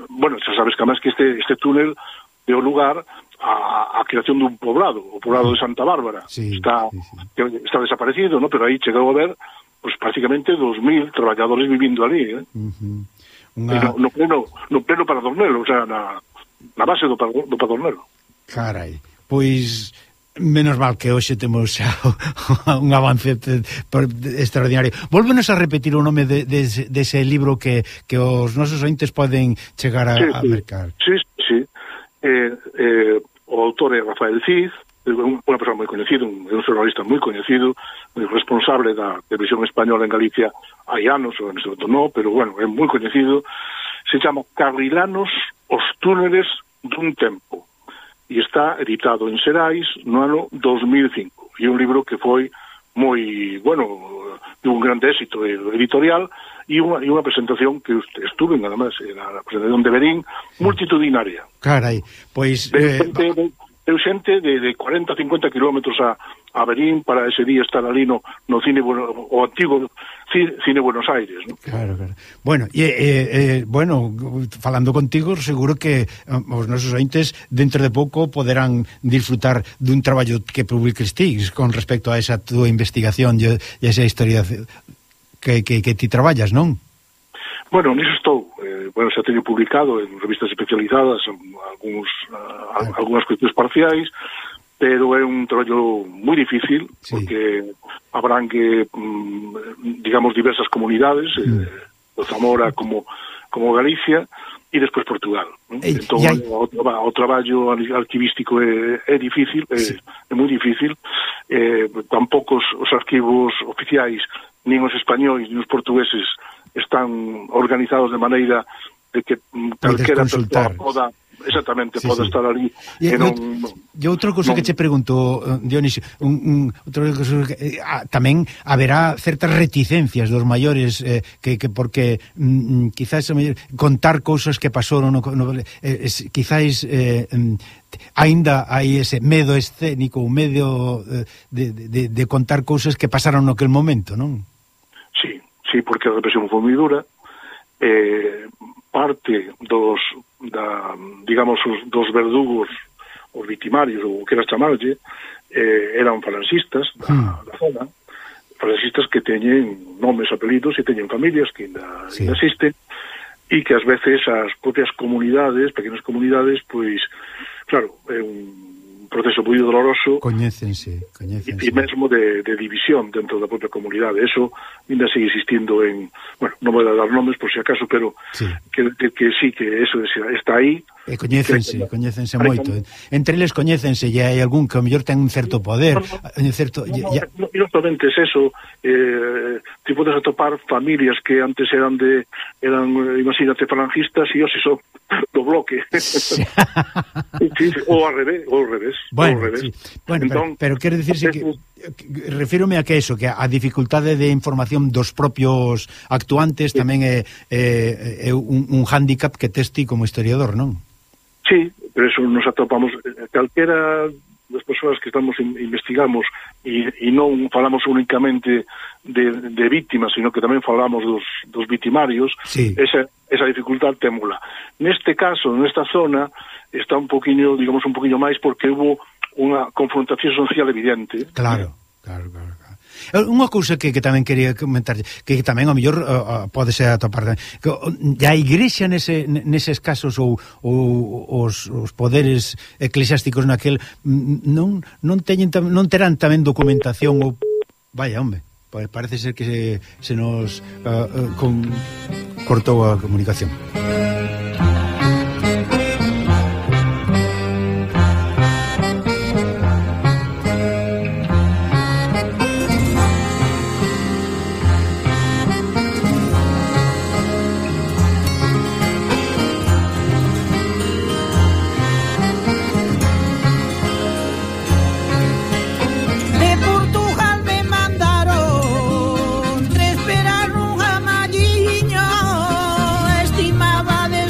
bueno, xa sabes que además que este, este túnel deu lugar a, a creación dun poblado, o poblado de Santa Bárbara. Sí, está, sí, sí. está desaparecido, ¿no? Pero aí chegou a ver pues prácticamente dos mil traballadores vivindo ali, eh? Uh-huh. Una... no, no pleno, no pleno Padornelo, o sea, na, na base do, do Padornelo. Carai, pois Menos mal que hoxe temos xa un avance extraordinario. Volvenos a repetir o nome de, de, de ese libro que, que os nosos ointes poden chegar a, sí, a mercar. Sí, sí. Eh, eh, o autor é Rafael Cid, unha persoa moi coñecido, un, un xornalista moi coñecido, responsable da televisión española en Galicia hai anos, ou en este momento non, pero bueno, é moi coñecido. Se chama Carrilanos, os túneles dun tempo, e está editado en Xerais no ano dos mil cinco, e un libro que foi moi, bueno, de un grande éxito editorial, e unha, e unha presentación que estuve, nada máis, na presentación de Berín, multitudinaria. Carai, pois... De, eh... de, de, de xente de, de cuarenta a cincuenta kilómetros a, a Berín para ese día estar ali no, no cine, o antigo cine, cine Buenos Aires, ¿no? Claro, claro. Bueno, e, eh, eh, bueno, falando contigo, seguro que os nosos ointes dentro de pouco poderán disfrutar dun traballo que publiques ti con respecto a esa túa investigación e esa historia que, que, que ti traballas, non? Bueno, niso estou. Eh, bueno, xa teño publicado en revistas especializadas algúns, uh, algunhas cuestións parciais, pero é un traballo moi difícil, sí, porque abrangue, um, digamos, diversas comunidades, mm. eh, o Zamora como, como Galicia, e despois Portugal. ¿no? Ei, entón, hai... o, o traballo arquivístico é, é difícil, é, sí. é moi difícil. Eh, tampouco os, os arquivos oficiais, nin os españois, nin os portugueses, están organizados de maneira de que calquera persoa poda, exactamente, sí, poda sí. estar ali. E, non, e outra cousa non... que che pregunto, Dionisio, un, un, outra cousa que, ah, tamén haberá certas reticencias dos maiores, eh, que, que porque mm, quizás contar cousas que pasaron, no, no, eh, es, quizás eh, aínda hai ese medo escénico, un medo eh, de, de, de contar cousas que pasaron naquele momento, non? Sí, sí, porque a represión foi moi dura. Eh, parte dos, da, digamos, os, dos verdugos, os victimarios, ou que era chamarlle, eh, eran falanxistas da, mm. da zona, falanxistas que teñen nomes, apelidos e teñen familias que ainda, sí. ainda existen, e que ás veces as propias comunidades, pequenas comunidades, pois, claro, é un proceso moi doloroso, coñécense, coñécense. E mesmo de, de división dentro da propia comunidade. Eso ainda sigue existindo en, bueno, non vou dar nomes por si acaso, pero sí. que, que, que sí, que eso está aí. E coñécense, que, coñécense moito. Que... Entre eles coñécense, e hai algún que ao mellor ten un certo poder, no, no, un certo... No, no, ya... no, non somente es eso, eh, ti podes atopar familias que antes eran de, eran, imagínate, falangistas, e hoxe son do bloque. Sí. Sí, ou ao revés, ou ao revés. Bueno, ao revés. Sí. Bueno, entón, pero, pero quero dicirse que, que refírome a que eso, que a dificultade de información dos propios actuantes sí. tamén é, é, é un, un hándicap que tes ti como historiador, non? Sí, pero eso nos atopamos calquera das persoas que estamos investigamos e, e non falamos únicamente de, de víctimas, sino que tamén falamos dos, dos victimarios, sí. esa, esa dificultad témola. Neste caso, nesta zona, está un poquinho, digamos, un poquinho máis porque hubo unha confrontación social evidente. Claro, claro, claro. Unha cousa que, que tamén quería comentar, que tamén ao mellor uh, pode ser atopar, que a igrexa nese, neses casos ou, ou os, os poderes eclesiásticos naquel non, non, teñen, non terán tamén documentación ou... Vaya, hombre, parece ser que se, se nos uh, uh, con, cortou a comunicación. Estimaba de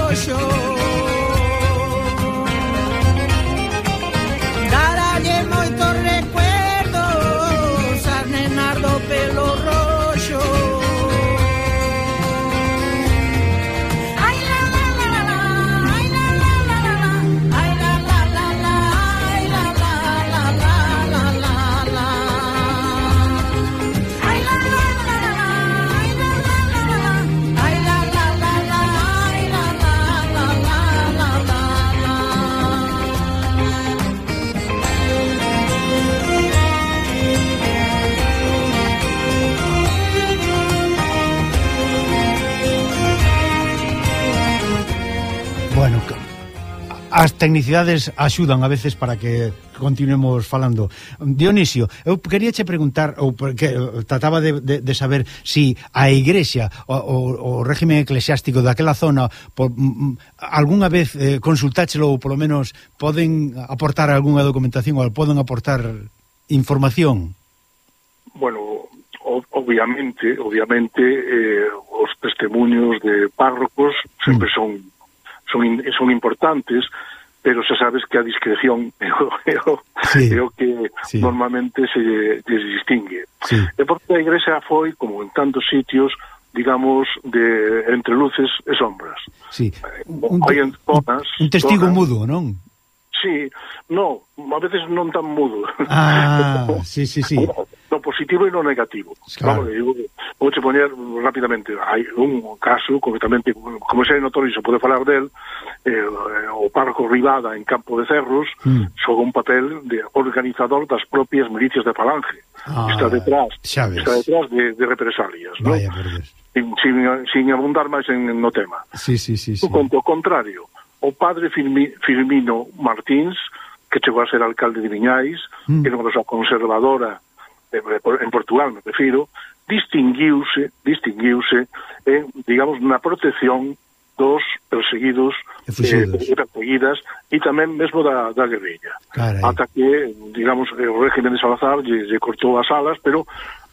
roxo. Daralle moitos recuerdos a nenar do pelo roxo. Ai la la la la la, ai la la la la la, ai la la la la, ai la la la la la la la. Ai la la la la la, ai la la la la la, ai la la la la, ai la la la la la la. Bueno, que- as tecnicidades axudan a veces para que continuemos falando. Dionisio, eu quería che preguntar, ou porque eh, trataba de, de, de saber si a Igrexa, o, o, o régimen eclesiástico daquela zona, por, mm, algunha vez eh, consultáchelo, ou polo menos poden aportar algunha documentación, ou poden aportar información. Bueno, o- obviamente, obviamente eh, os testemunhos de párrocos sempre Mm. son son in- son importantes, pero xa sabes que a discreción é o, é o, Sí. é o que Sí. normalmente se les distingue. Sí. E porque a Igrexa foi, como en tantos sitios, digamos, de entre luces e sombras. Sí. Un, hai en zonas, un testigo zonas, mudo, non? Sí, no, a veces non tan mudo. Ah, sí, sí, sí. No positivo e no negativo. Claro. Vamos, digo, vou che poñer rapidamente. Hai un caso, concretamente, como xa é notorio, se pode falar del, eh, o párroco Rivada en Campo de Cerros Mm. xoga un papel de organizador das propias milicias de Falange. Ah, está detrás, xa ves. está detrás de, de represalias, ¿no? Vaya, por Dios. Sin, sin, sin abundar máis en, no tema. Sí, sí, sí, sí. Con o contrario, o padre Firmi, Firmino Martins, que chegou a ser alcalde de Viñais, Mm. que era unha persoa conservadora eh, en Portugal, me refiro, distinguiuse, distinguiuse en, digamos, na protección dos perseguidos E fuxidos. e perseguidas e tamén mesmo da, da guerrilla. Carai. Ata que, digamos, o régimen de Salazar lle, lle cortou as alas, pero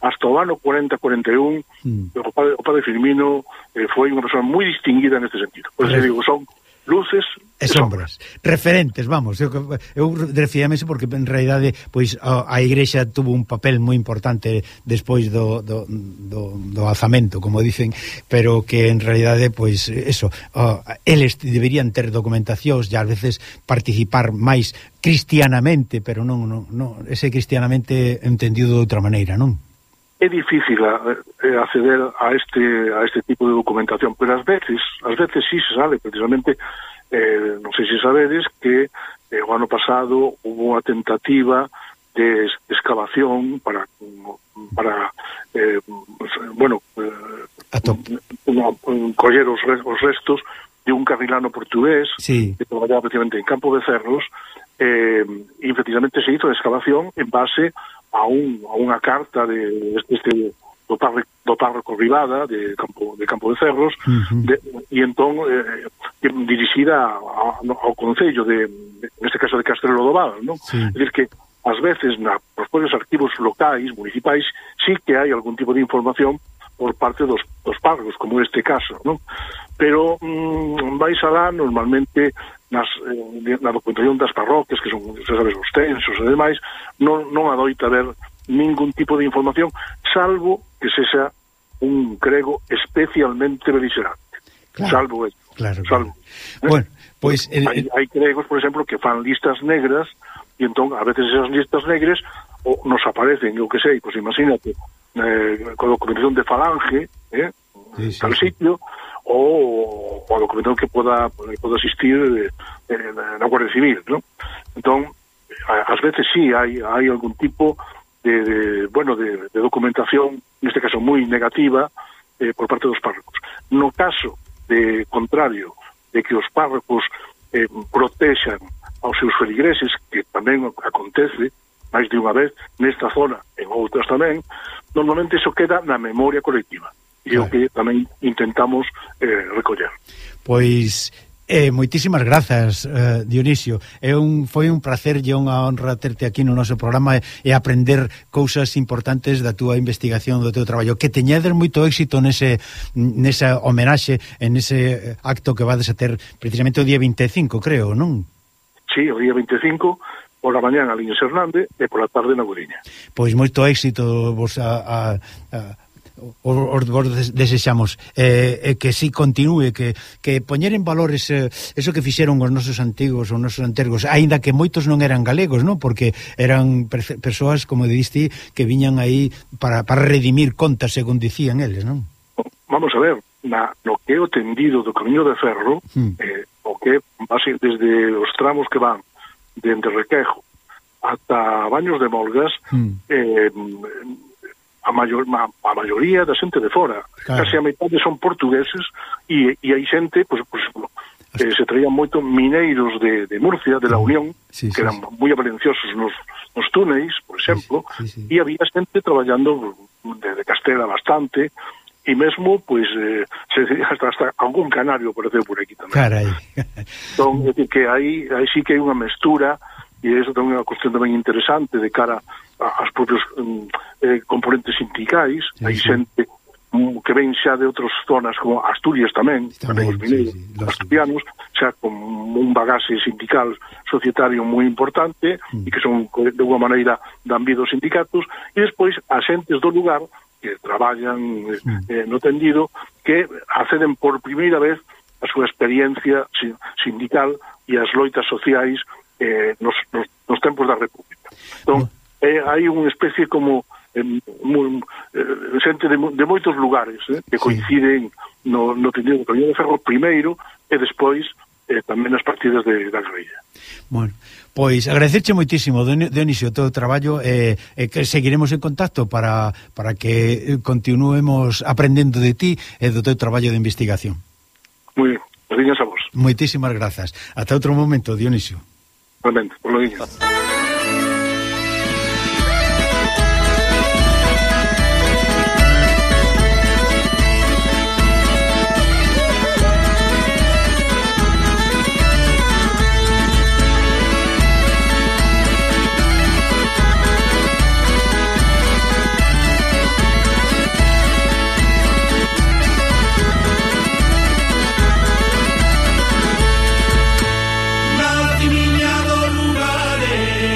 hasta o ano cuarenta cuarenta e un Mm. o padre, o padre Firmino eh, foi unha persoa moi distinguida neste sentido. Por eso Correcto. digo, son luces E sombras, referentes, vamos. Eu, eu refíame iso porque en realidade pois a, a Igrexa tuvo un papel moi importante despois do, do, do, do alzamento, como dicen, pero que en realidade pois eso, uh, eles deberían ter documentacións e ás veces participar máis cristianamente, pero non, non, non ese cristianamente entendido de outra maneira, non? É difícil eh, acceder a este a este tipo de documentación, pero ás veces, ás veces sí se sale, precisamente, eh, non sei se sabedes que eh, o ano pasado hubo unha tentativa de excavación para para eh, bueno, eh, una, un, coller os, os restos de un carrilano portugués sí. que traballaba precisamente en Campo de Cerros, eh, e precisamente se hizo a excavación en base a un a unha carta de este, este do párroco, do párroco Rivada de Campo de Campo de Cerros, uh-huh. de, e entón eh, dirixida a, a, ao concello de, de neste caso de Castrelo do Val, non? Sí. É dicir que ás veces na nos propios arquivos locais, municipais, sí que hai algún tipo de información por parte dos, dos párrocos, como este caso, non? Pero mmm, vais alá normalmente nas, eh, na documentación das parroquias, que son, xa sabes, os censos e demais, non, non adoita haber ningún tipo de información, salvo que sexa un crego especialmente beligerante. Claro, salvo eso. Claro, salvo. Claro. Bueno, pois... Pues, hai, hai cregos, por exemplo, que fan listas negras, e entón, a veces esas listas negras o nos aparecen, eu que sei, pois imagínate, eh, con documentación de Falange, eh, sí, sí, tal sí. sitio, ou a documentación que poda, poda existir eh, eh, na Guardia Civil, ¿no? Entón, ás veces sí, hai, hai algún tipo de, de bueno, de, de documentación, neste caso moi negativa, eh, por parte dos párrocos. No caso de contrario, de que os párrocos eh, protexan aos seus feligreses, que tamén acontece máis de unha vez nesta zona, en outras tamén, normalmente iso queda na memoria colectiva. E claro. O que tamén intentamos eh, recoller. Pois Eh, moitísimas grazas, eh, Dionisio. É un, foi un placer e unha honra terte aquí no noso programa e, e aprender cousas importantes da túa investigación, do teu traballo. Que teñedes moito éxito nese, nesa homenaxe, en ese acto que vades a ter precisamente o día vinte e cinco, creo, non? Sí, o día vinte e cinco, por a mañán a Liñes Hernández e por a tarde na Guriña. Pois moito éxito vos a... a, a os vos desexamos eh, eh, que si continúe, que, que poñer en valor ese, eso que fixeron os nosos antigos, os nosos antergos, aínda que moitos non eran galegos, non? Porque eran persoas, como diste, que viñan aí para, para redimir contas, según dicían eles, non? Vamos a ver, na, no que é o tendido do Camiño de Ferro, hmm. eh, o que base, desde os tramos que van dende Requejo ata Baños de Molgas, hmm. eh, a, maior, a, a maioría da xente de fora, claro. Casi a metade son portugueses e, e hai xente, pues, por exemplo, que se traían moito mineiros de, de Murcia, de la Unión, sí, sí, que eran sí. moi valenciosos nos, nos túneis, por exemplo, sí, sí, sí. E había xente traballando de, de Castela bastante, e mesmo, pois, eh, se, hasta, hasta algún canario apareceu por aquí tamén. Carai. Entón, é dicir, que aí, aí sí que hai unha mestura, e iso tamén é unha cuestión tamén interesante de cara aos propios um, eh, componentes sindicais, sí, hai sí. xente um, que ven xa de outras zonas como Asturias tamén, tamén os mineiros, sí, sí, asturianos, xa con un bagaxe sindical societario moi importante mm. e que son de alguma maneira dan vida aos sindicatos, e despois as xentes do lugar que traballan mm. eh, no tendido, que acceden por primeira vez a súa experiencia sindical e as loitas sociais eh, nos, nos, nos tempos da República. Entón, mm. Eh, hai unha especie como eh, muy, eh, xente de, de moitos lugares eh, que coinciden sí. no, no tendido do Camiño de Ferro primeiro e despois eh, tamén as partidas de, da guerrilla. Bueno, pois agradecerche moitísimo, Dionisio, o teu traballo e eh, eh, que seguiremos en contacto para, para que continuemos aprendendo de ti e do teu traballo de investigación. Moi ben, gracias a vos. Moitísimas grazas. Ata outro momento, Dionisio. Realmente, por lo diño. Nacimiña dos lugares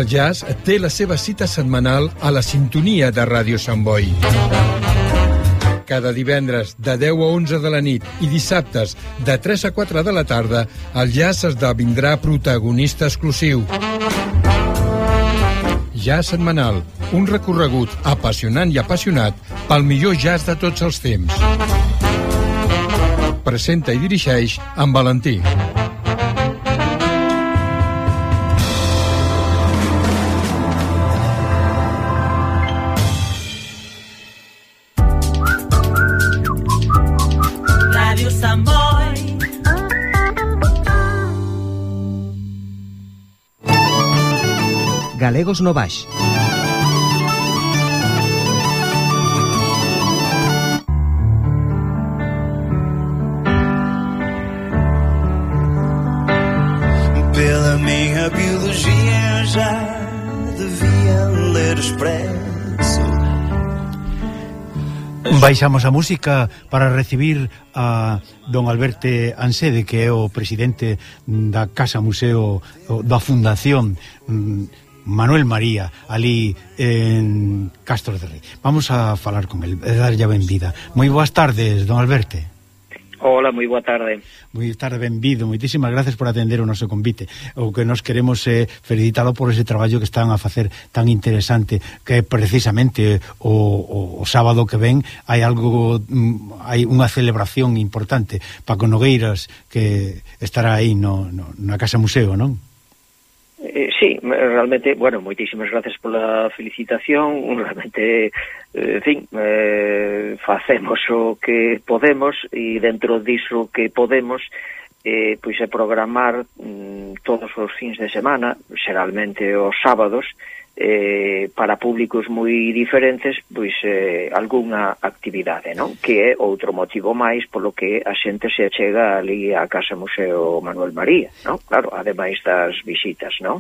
jazz té la seva cita setmanal a la sintonia de Ràdio Sant Boi. Cada divendres de deu a onze de la nit i dissabtes de tres a quatre de la tarda, el jazz esdevindrà protagonista exclusiu. Jazz setmanal, un recorregut apassionant i apassionat pel millor jazz de tots els temps. Presenta i dirigeix en Valentí. Radio Sant Boi. Galegos no baix. Pela minha biologia já devia ler Expresso. Baixamos a música para recibir a don Alberto Ansede, que é o presidente da Casa Museo da Fundación Manuel María, ali en Castro de Rei. Vamos a falar con el, e darlle a benvida. Moi boas tardes, don Alberto. Hola, moi boa tarde. Moi tarde, benvido. Moitísimas gracias por atender o noso convite. O que nos queremos é eh, felicitalo por ese traballo que están a facer tan interesante, que precisamente o, o, o sábado que ven hai algo, hai unha celebración importante. Paco Nogueiras, que estará aí no, no, na Casa Museo, non? Eh, sí, realmente, bueno, moitísimas gracias pola felicitación. Realmente, eh, en fin, eh, facemos o que podemos, e dentro diso que podemos, eh, pois é programar mm, todos os fins de semana, xeralmente os sábados, eh, para públicos moi diferentes, pois eh, algunha actividade, non? Que é outro motivo máis polo que a xente se achega ali á Casa Museo Manuel María, non? Claro, ademais das visitas, non?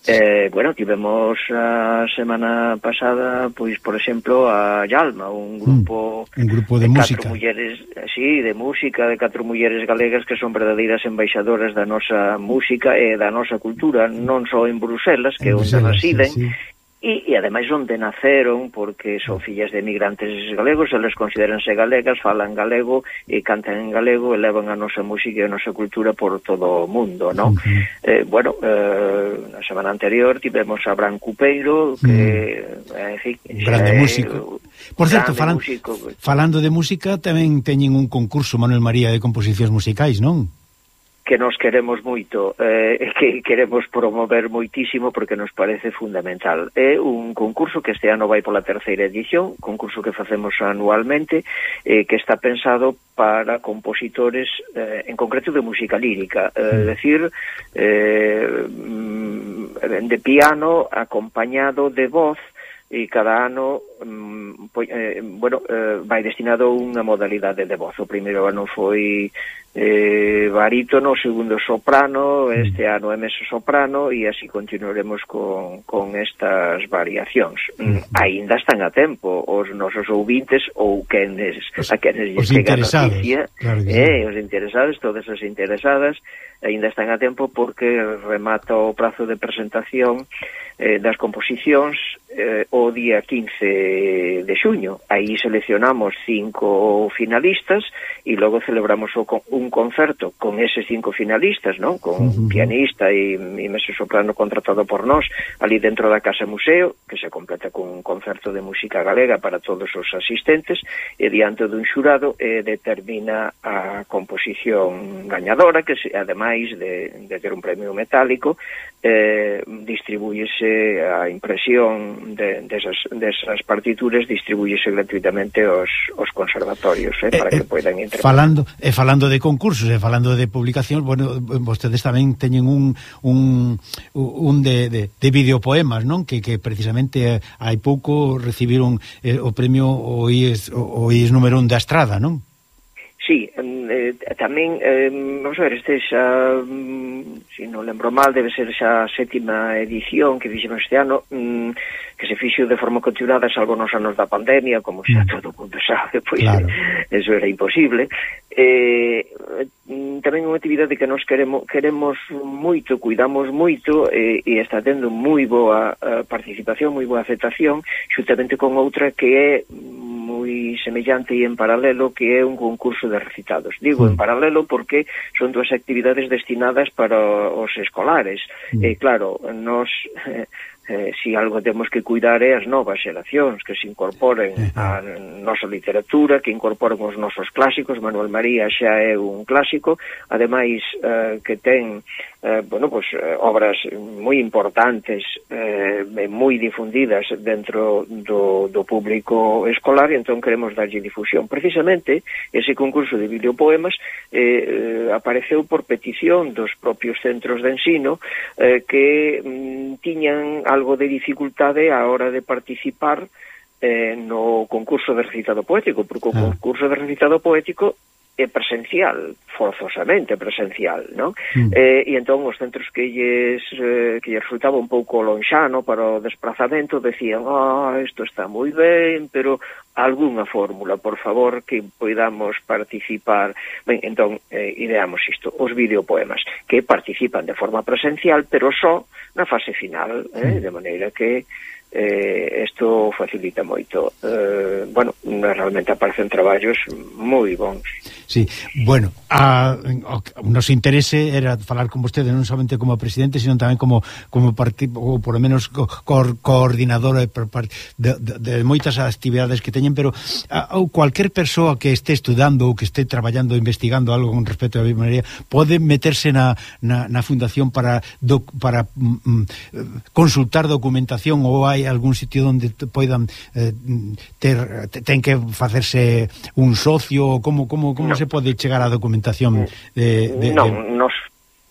Eh, bueno, tivemos a semana pasada, pois, por exemplo, a Yalma, un grupo, mm, un grupo de, de música. Catro mulleres, sí, de música, de catro mulleres galegas que son verdadeiras embaixadoras da nosa música e da nosa cultura, non só en Bruselas, que é onde residen, sí, sí. E, e ademais onde naceron, porque son fillas de emigrantes galegos, eles consideranse galegas, falan galego e cantan en galego e levan a nosa música e a nosa cultura por todo o mundo, non? Uh-huh. eh, bueno, eh, na semana anterior tivemos a Bran Cupeiro, que, uh-huh. eh, en fin, grande eh, músico. Por certo, falan, músico. falando de música, tamén teñen un concurso, Manuel María, de composicións musicais, non? Que nos queremos moito, eh, que queremos promover moitísimo porque nos parece fundamental. É un concurso que este ano vai pola terceira edición, concurso que facemos anualmente, eh, que está pensado para compositores, eh, en concreto de música lírica, eh, é dicir, eh, de piano acompañado de voz, e cada ano eh, bueno, eh, vai destinado a unha modalidade de voz. O primeiro ano foi eh, barítono, o segundo soprano, este ano é meso soprano, e así continuaremos con, con estas variacións. Mm, aínda están a tempo os nosos ouvintes ou quenes, a quenes lles chega a noticia, claro eh, os interesados, todas as interesadas, aínda están a tempo porque remata o prazo de presentación eh, das composicións eh, o día quince de xuño. Aí seleccionamos cinco finalistas e logo celebramos o, un concerto con eses cinco finalistas, non? Con uh-huh. pianista e, e meso soprano contratado por nós ali dentro da Casa Museo, que se completa con un concerto de música galega para todos os asistentes, e diante dun xurado eh, determina a composición gañadora, que se, ademais de, de ter un premio metálico, eh, distribúyese a impresión de, desas, desas partituras, distribúyese gratuitamente aos, aos conservatorios, eh, para eh, que poidan interpretar. Falando, eh, falando de concursos e eh, falando de publicación, bueno, vostedes tamén teñen un un, un de, de, de videopoemas, non? Que, que precisamente hai pouco recibiron eh, o premio o I E S, o, o I E S número un da Estrada, non? sí, eh, tamén, eh, vamos a ver, este xa, mm, se non lembro mal, debe ser xa a sétima edición que fixemos este ano, mm, que se fixo de forma continuada, salvo nos anos da pandemia, como xa todo o mundo sabe, pois claro. Eso era imposible. Eh, tamén unha actividade que nos queremos queremos moito, cuidamos moito, eh, e está tendo moi boa uh, participación, moi boa aceptación, xuntamente con outra que é moi semellante e en paralelo, que é un concurso de recitados. Digo mm. en paralelo porque son dúas actividades destinadas para os escolares. Mm. E claro, nos... Eh, Eh, si algo temos que cuidar é as novas xeracións que se incorporen á nosa literatura, que incorporen os nosos clásicos. Manuel María xa é un clásico, ademais eh, que ten eh, bueno, pues, eh, obras moi importantes, eh, moi difundidas dentro do, do público escolar, e entón queremos darlle difusión. Precisamente, ese concurso de videopoemas eh, eh, apareceu por petición dos propios centros de ensino eh, que mm, tiñan algo de dificultade a hora de participar eh, no concurso de recitado poético, porque o ah. concurso de recitado poético é presencial, forzosamente presencial, non? Mm. Eh, e entón os centros que lles, eh, que lles resultaba un pouco lonxano para o desplazamento decían, ah, isto está moi ben, pero algunha fórmula, por favor, que poidamos participar. Ben, entón, eh, ideamos isto, os videopoemas, que participan de forma presencial, pero só na fase final, eh, mm. de maneira que eh, isto facilita moito. Eh, bueno, realmente aparecen traballos moi bons. Sí, bueno, a, o, o nos interese era falar con vostede non somente como presidente, sino tamén como como partido, ou por lo menos co, co, coordinador de, de, de, de moitas actividades que teñen, pero a, ou cualquier persoa que este estudando ou que este traballando, investigando algo con respecto a biblioteca pode meterse na, na, na fundación para do, para mm, consultar documentación, ou hai algún sitio onde poidan eh, ter ten que facerse un socio, ou como como como no. se pode chegar á documentación de, de, non, de... nos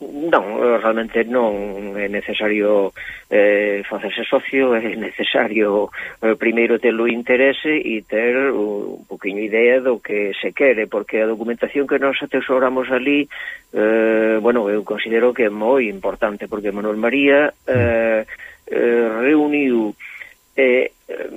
non, realmente non é necesario eh, facerse socio, é necesario eh, primeiro ter o interese e ter un poquinho idea do que se quere, porque a documentación que nos atesoramos ali, eh, bueno, eu considero que é moi importante, porque Manuel María eh, eh, reuniu eh, eh,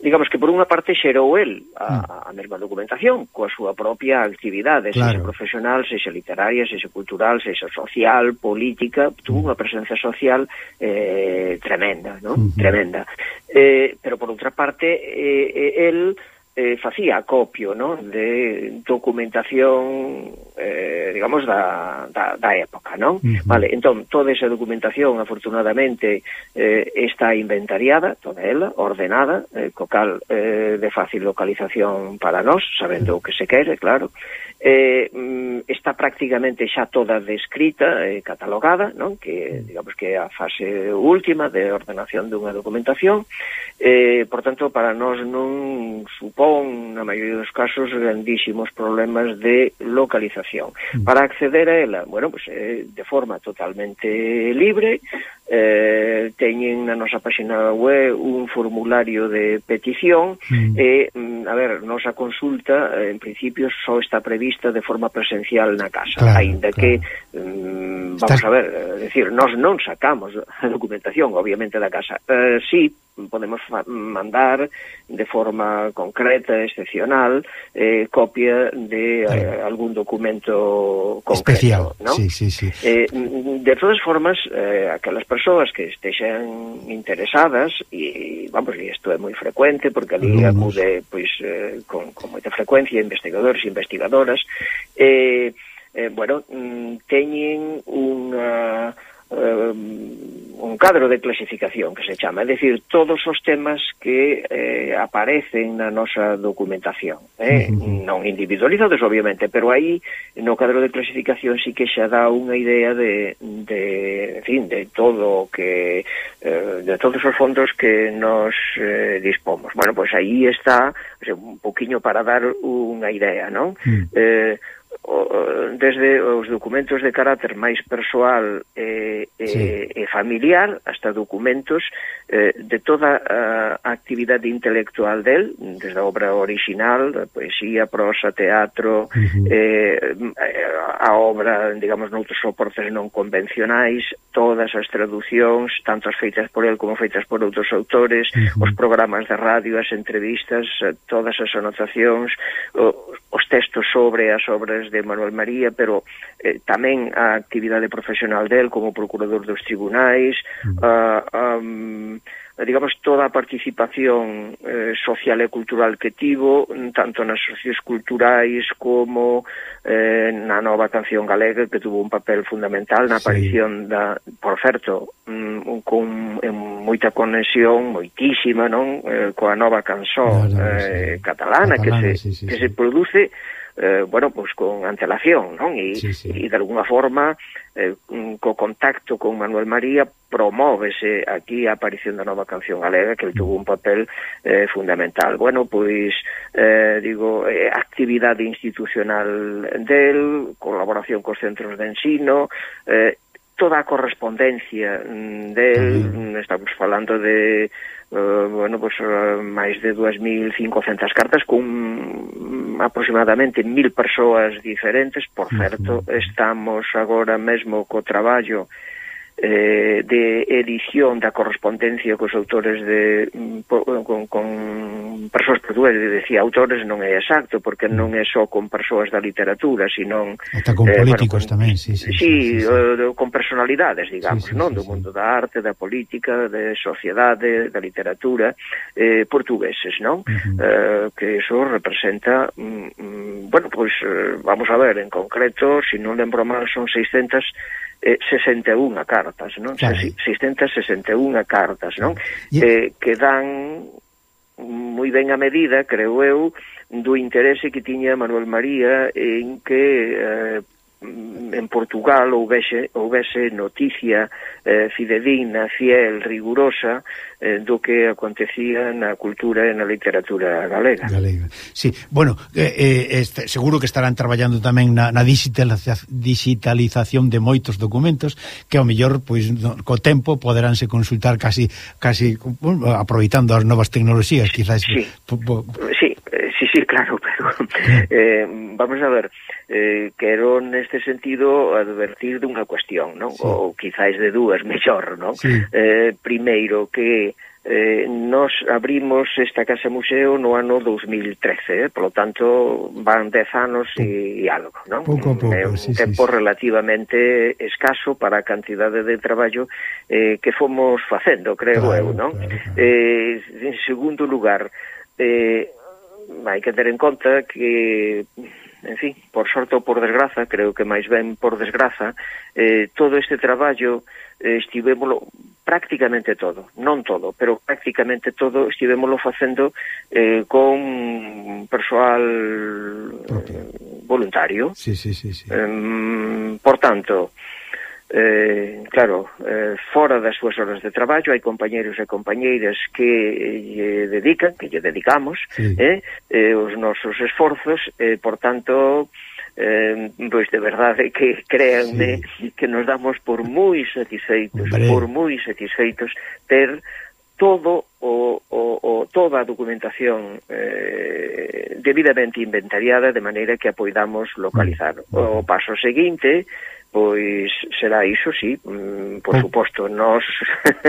digamos que por unha parte xerou el a, a mesma documentación coa súa propia actividade, claro. Sexa profesional, sexa literaria, sexa cultural, sexa social, política, tuvo unha presencia social eh, tremenda, ¿no? Uh-huh. Tremenda. Eh, pero por outra parte, eh, el eh, facía acopio, ¿no? De documentación, eh, digamos, da, da, da época, ¿no? Uh-huh. Vale, entón, toda esa documentación, afortunadamente, eh, está inventariada, toda ela, ordenada, eh, co cal eh, de fácil localización para nós, sabendo o que se quere, claro. Eh, está prácticamente xa toda descrita e eh, catalogada, non? Que, digamos, que é a fase última de ordenación dunha documentación. Eh, por tanto, para nós non supón, na maioría dos casos, grandísimos problemas de localización. Mm. Para acceder a ela, bueno, pues, eh, de forma totalmente libre, eh, teñen na nosa página web un formulario de petición, mm. e, a ver, nosa consulta, en principio, só está prevista de forma presencial na casa, claro, ainda claro. que, um, vamos Estás... a ver, é dicir, nós non sacamos a documentación, obviamente, da casa. Uh, sí, podemos mandar de forma concreta, excepcional, eh, copia de eh, algún documento concreto, especial, ¿no? Sí, sí, sí. Eh, de todas formas, eh, aquelas persoas que estexan interesadas, e vamos, e isto é moi frecuente, porque ali Alumnos. acude pois, eh, con, con moita frecuencia investigadores e investigadoras, eh, eh, bueno, teñen unha Uh, un cadro de clasificación que se chama, é dicir, todos os temas que eh, aparecen na nosa documentación, eh? Uh-huh. Non individualizados, obviamente, pero aí no cadro de clasificación sí que xa dá unha idea de, de en fin, de todo que eh, de todos os fondos que nos eh, dispomos. Bueno, pois pues aí está, o sea, un poquinho para dar unha idea, non? Uh-huh. Eh, desde os documentos de carácter máis persoal e, sí. e, e familiar hasta documentos eh, de toda a actividade intelectual del, desde a obra original, a poesía, prosa, teatro, uh-huh. eh, a obra, digamos, noutros soportes non convencionais, todas as traducións, tanto as feitas por el como feitas por outros autores, uh-huh. os programas de radio, as entrevistas, todas as anotacións, os textos sobre as obras de Manuel María, pero eh, tamén a actividade profesional del como procurador dos tribunais, uh, um, digamos, toda a participación eh, social e cultural que tivo, tanto nas socios culturais como eh, na nova canción galega, que tuvo un papel fundamental na aparición sí. da, por certo, um, con eh, moita conexión, moitísima, non? Eh, coa nova canción claro, eh, sí. catalana, catalana, que se, sí, sí, que sí. se produce Eh, bueno, pues con antelación, non? E, sí, sí. e de alguna forma eh, co contacto con Manuel María promóvese aquí a aparición da nova canción galega, que tuvo un papel eh, fundamental. Bueno, pois eh, digo, eh, actividade institucional del, colaboración cos centros de ensino, eh, toda a correspondencia del, mm. estamos falando de Uh, bueno, pues uh, máis de dúas mil cincocentas cartas con aproximadamente mil persoas diferentes. Por certo, estamos agora mesmo co traballo eh, de edición da correspondencia cos autores de po, con, con persoas portuguesas, decía autores non é exacto, porque non é só con persoas da literatura, sino ata con eh, políticos bueno, con, tamén, sí, sí, sí, sí, sí, sí. Uh, con personalidades, digamos, sí, sí, sí, non, do sí. mundo da arte, da política, de sociedade, da literatura, eh, portugueses, non? Uh-huh. Uh, que eso representa mm, bueno, pois pues, uh, vamos a ver, en concreto, se si non lembro mal, son seiscentas sesenta e unha cartas, non? Claro. seiscentas sesenta e unha cartas, non? Yeah. Eh, que dan moi ben a medida, creo eu, do interese que tiña Manuel María en que eh, en Portugal houvese, houvese noticia eh, fidedigna, fiel, rigurosa eh, do que acontecía na cultura e na literatura galega. Galega. Sí, bueno, eh, eh, este, seguro que estarán traballando tamén na, na digitalización de moitos documentos que ao mellor, pois, no, co tempo poderánse consultar casi, casi bueno, aproveitando as novas tecnoloxías, quizás. Sí, po, po... sí, sí, sí, claro, pero eh, vamos a ver, eh, quero neste sentido advertir dunha cuestión, non? Sí. Ou quizáis de dúas, mellor, non? Sí. Eh, primeiro, que eh, nos abrimos esta Casa Museo no ano dos mil trece, eh? Polo tanto, van dez anos e, e algo, non? Pouco a pouco, é un sí, tempo sí, relativamente escaso para a cantidade de traballo eh, que fomos facendo, creo claro, eu, non? Claro, claro. Eh, en segundo lugar, eh, hai que ter en conta que, en fin, por sorte ou por desgraza, creo que máis ben por desgraza, eh, todo este traballo eh, estivémolo prácticamente todo, non todo, pero prácticamente todo estivémolo facendo eh, con persoal eh, voluntario. Sí, sí, sí, sí. Eh, por tanto, Eh, claro, eh, fora das súas horas de traballo hai compañeros e compañeiras que lle dedican, que lle dedicamos sí. eh, eh, os nosos esforzos, eh, por tanto eh, pois de verdade que créanme sí. que nos damos por moi satisfeitos, Hombre. por moi satisfeitos ter todo o, o, o toda a documentación eh, debidamente inventariada de maneira que a poidamos localizar. O paso seguinte pois será iso, sí, mm, por suposto, nos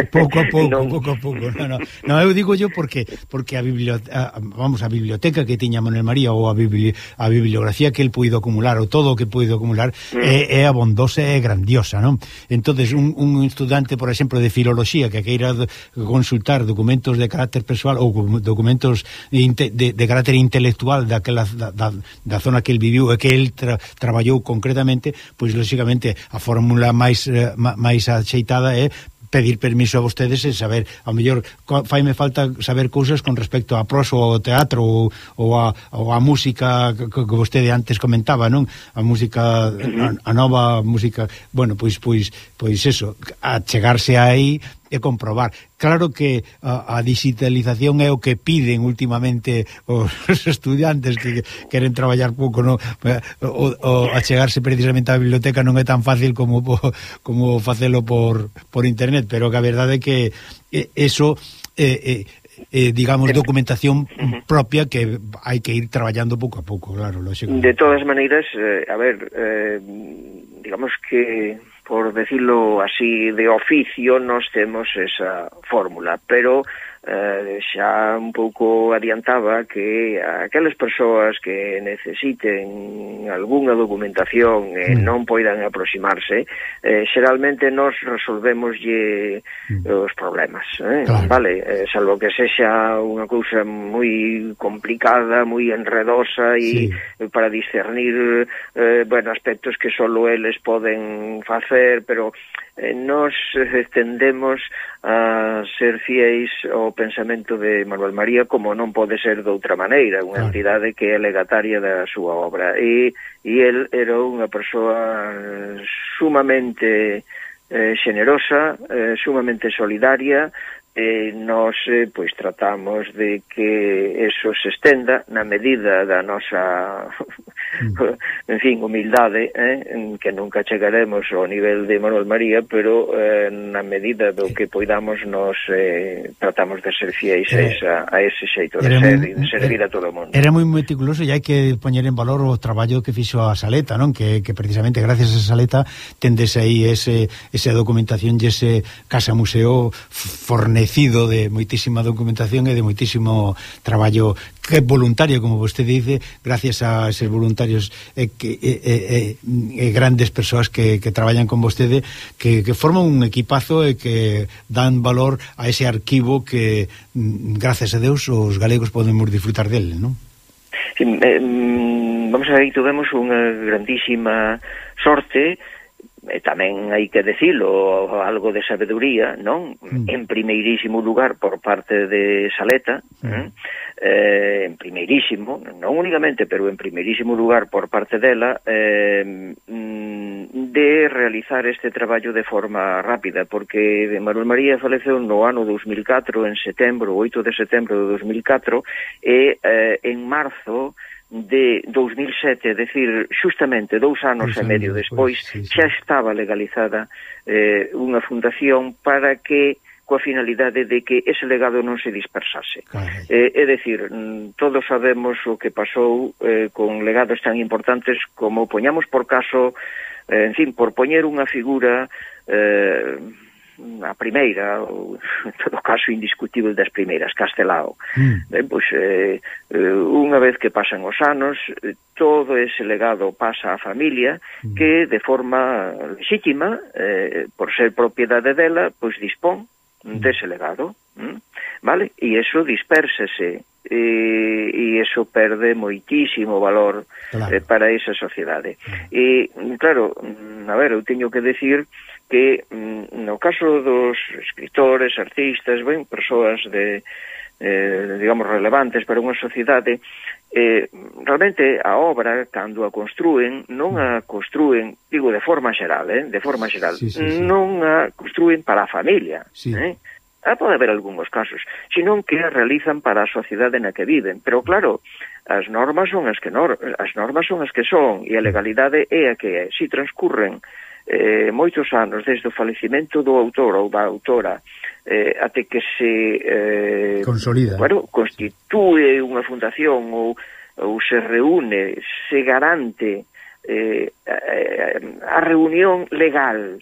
pouco a pouco, non... pouco a pouco. No, no. no, eu digo yo porque porque a biblioteca, vamos, a biblioteca que tiña Manuel María ou a, bibli, a bibliografía que el puido acumular ou todo o que puido acumular mm. é, é abondosa e grandiosa, non? Entonces, un, un estudante, por exemplo, de filoloxía que queira consultar documentos de carácter persoal ou documentos de, de, de carácter intelectual daquela, da, da, da zona que el viviu e que el tra, traballou concretamente, pois, lógicamente, a fórmula máis eh, máis axeitada é pedir permiso a vostedes e saber, ao mellor faime falta saber cousas con respecto a prosa ou ao teatro ou, ou, a, ou a música que, que vostede antes comentaba, non? A música, a, a nova música, bueno, pois pois pois eso, a chegarse aí e comprobar. Claro que a, a digitalización é o que piden últimamente os estudiantes que queren traballar pouco, no? o, o achegarse precisamente á biblioteca non é tan fácil como como facelo por, por internet, pero que a verdade é que eso eh, eh, eh, digamos, documentación propia que hai que ir traballando pouco a pouco, claro, lógico. De todas maneiras, eh, a ver, eh, digamos que, por decirlo así, de oficio, nos temos esa fórmula, pero eh, xa un pouco adiantaba que aquelas persoas que necesiten algunha documentación e eh, non poidan aproximarse, eh, xeralmente nos resolvemoslle mm. os problemas, eh? Claro. Vale, eh, salvo que sexa unha cousa moi complicada, moi enredosa e sí. para discernir eh, bueno, aspectos que solo eles poden facer, pero eh, nos eh, tendemos a ser fiéis ao pensamento de Manuel María, como non pode ser de outra maneira, unha claro. entidade que é legataria da súa obra, e, e el era unha persoa sumamente eh, generosa, eh, sumamente solidaria, e nos eh, pois tratamos de que eso se estenda na medida da nosa en fin, humildade, eh, en que nunca chegaremos ao nivel de Manuel María, pero eh, na medida do que poidamos nos eh, tratamos de ser fiéis a, esa, a ese xeito de ser e de servir a todo o mundo. Era moi meticuloso e hai que poñer en valor o traballo que fixo a Saleta, non? Que, que precisamente gracias a Saleta tendes aí ese, esa documentación e ese casa museo fornecido de moitísima documentación e de moitísimo traballo que é voluntario, como vostede dice, gracias a eses voluntarios e, que, e, e, e grandes persoas que, que traballan con vostede, que, que forman un equipazo e que dan valor a ese arquivo que, gracias a Deus, os galegos podemos disfrutar dele, non? Sí, eh, vamos a ver, tuvemos unha grandísima sorte, e tamén hai que decilo, algo de sabeduría, non? Mm. En primeirísimo lugar por parte de Saleta, mm. eh, en primeirísimo, non únicamente, pero en primeirísimo lugar por parte dela, eh, de realizar este traballo de forma rápida, porque Manuel María faleceu no ano dos mil catro, en setembro, oito de setembro de dos mil catro, e eh, en marzo de dos mil sete, é dicir, justamente dous anos e medio despois, sí, sí. xa estaba legalizada eh, unha fundación para que, coa finalidade de que ese legado non se dispersase. Eh, é dicir, todos sabemos o que pasou eh, con legados tan importantes como, poñamos por caso, eh, en fin, por poñer unha figura eh, a primeira, ou en todo caso indiscutible das primeiras, Castelao. Mm. Ben, pois, eh, unha vez que pasan os anos, todo ese legado pasa á familia, mm. que de forma legítima, eh, por ser propiedade dela, pois dispón mm. dese legado. Mm? Vale? E iso dispérsese, e, e iso perde moitísimo valor claro. eh, para esa sociedade. Mm. E, claro, a ver, eu teño que decir que no caso dos escritores, artistas, ben, persoas de, eh, digamos, relevantes para unha sociedade, eh, realmente a obra, cando a construen, non a construen, digo, de forma xeral, eh, de forma xeral, sí, sí, sí. non a construen para a familia, sí. eh? Ah, pode haber algúns casos, senón que a realizan para a sociedade na que viven, pero claro, as normas son as que nor as normas son as que son, e a legalidade é a que é. Si transcurren Eh, moitos anos desde o falecimento do autor ou da autora eh, até que se eh, consolida, bueno, constitúe unha fundación ou, ou se reúne, se garante eh, a reunión legal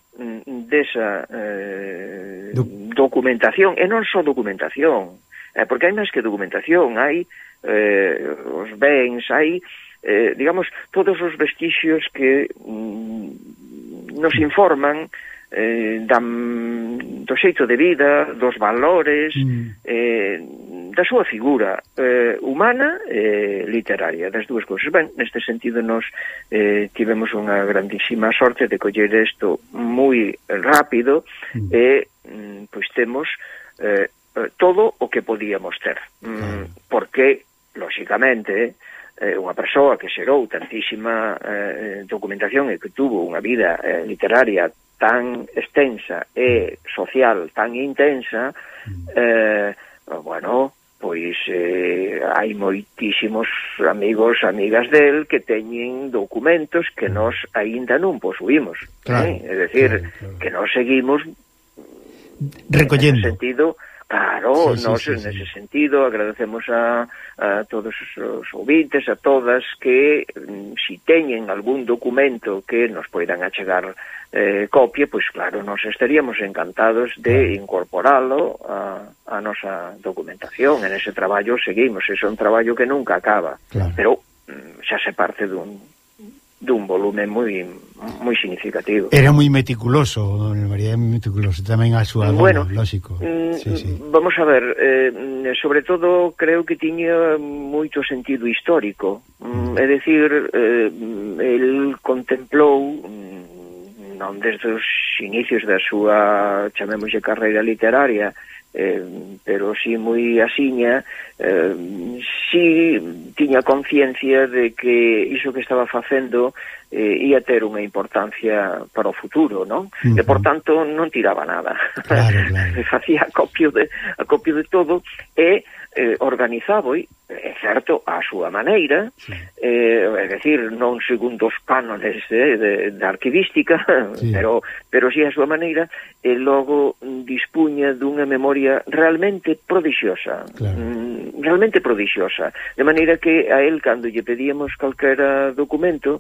desa eh, documentación, e non só documentación, eh, porque hai máis que documentación, hai eh, os bens, hai eh, digamos, todos os vestixios que mm, nos informan eh, da, do xeito de vida, dos valores, mm. eh, da súa figura eh, humana e eh, literaria, das dúas cousas. Ben, neste sentido, nos eh, tivemos unha grandísima sorte de coller isto moi rápido mm. e, mm, pois, temos eh, todo o que podíamos ter. Mm, mm. Porque, lóxicamente, eh, unha persoa que xerou tantísima eh, documentación e que tuvo unha vida eh, literaria tan extensa e social tan intensa, eh, bueno, pois eh, hai moitísimos amigos, amigas del que teñen documentos que nós aínda non posuímos, claro, eh? É dicir, claro, claro. que nós seguimos recollendo. Nese sentido, claro, sí, sí, nós sí, nese sí. sentido agradecemos a, a todos os ouvintes, a todas que si teñen algún documento que nos poidan achegar eh, copia, pois claro, nos estaríamos encantados de incorporalo a, a nosa documentación. En ese traballo seguimos, ese é un traballo que nunca acaba, claro. Pero xa se parte dun dun volume moi moi significativo. Era moi meticuloso, don María, moi meticuloso, tamén a súa bueno, dona, lógico. Mm, sí, sí. Vamos a ver, eh, sobre todo creo que tiña moito sentido histórico, mm, é dicir, eh, el contemplou non desde os inicios da súa, chamémoslle, carreira literaria, eh, pero si moi asiña, eh, si tiña conciencia de que iso que estaba facendo eh, ia ter unha importancia para o futuro, non? Uh-huh. E, por tanto, non tiraba nada. Claro, claro. Facía acopio de, acopio de todo e eh, organizaba, é certo, a súa maneira, sí. eh, é dicir, non segundo os cánones de, de, de arquivística, sí. pero, pero si a súa maneira, e logo dispuña dunha memoria realmente prodigiosa, claro. mm, realmente prodigiosa, de maneira que a él, cando lle pedíamos calquera documento,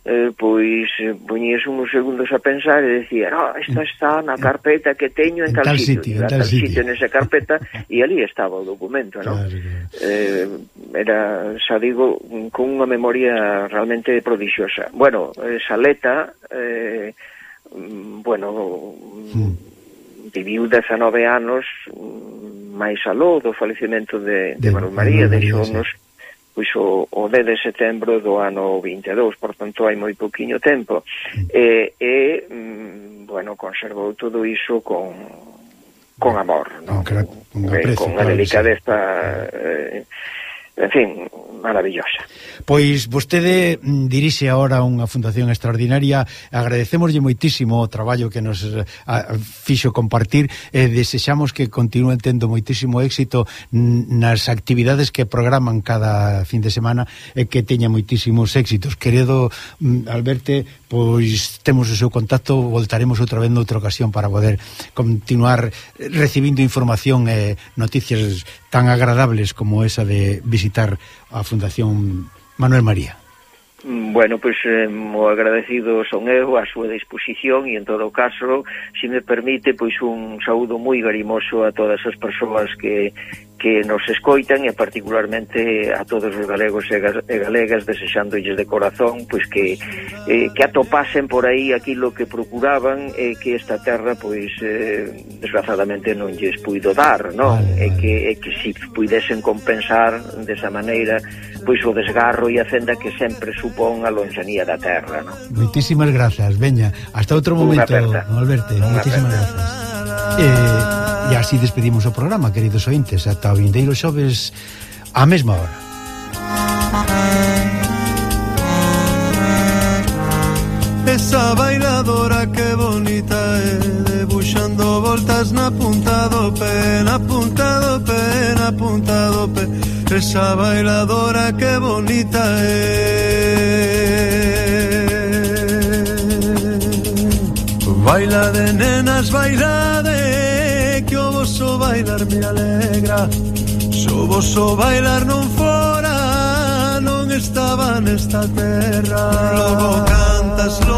Eh, pois poñías uns segundos a pensar e decía, no, esta está na carpeta que teño en, en tal, tal sitio, en tal, tal sitio, sitio nesa carpeta, e ali estaba o documento, non? Claro, claro. Eh, era, xa digo, con unha memoria realmente prodigiosa. Bueno, esa Leta, eh, bueno, mm. viviu dezanove anos máis aló do falecimento de, de, de Manuel María, deixounos pois o, o dez de setembro do ano vinte e dous, por tanto hai moi poquinho tempo, e, e mm, bueno, conservou todo iso con con amor, non? Con, con, aprecio, con a delicadeza, eh, en fin, maravillosa. Pois vostede dirixe agora unha fundación extraordinaria, agradecémoslle moitísimo o traballo que nos a, fixo compartir e desexamos que continúen tendo moitísimo éxito nas actividades que programan cada fin de semana e que teña moitísimos éxitos. Querido Alberto, pois temos o seu contacto, voltaremos outra vez noutra ocasión para poder continuar recibindo información e noticias tan agradables como esa de visitar a Fundación Manuel María. Bueno, pois pues, eh, mo agradecido son eu a súa disposición e en todo caso, se me permite, pois un saúdo moi garimoso a todas as persoas que que nos escoitan e particularmente a todos os galegos e galegas, desexándolle de corazón pois que eh, que atopasen por aí aquilo que procuraban e que esta terra pois eh, desgraciadamente non lles puido dar, non? Vale, vale. E que e que si puidesen compensar desa maneira pois o desgarro e a fenda que sempre supón a lonxanía da terra, non? Moitísimas grazas, veña, hasta outro momento, Alberto, moitísimas grazas. Eh, e así despedimos o programa, queridos ointes, ata o vindeiro xoves á mesma hora. Esa bailadora que bonita é, debuxando voltas na punta do pé, na punta do pé, na punta do pé. Esa bailadora que bonita é. Baila de nenas, baila de, que o voso bailar me alegra. Se o voso bailar non fora, non estaba nesta terra. Logo cantas, logo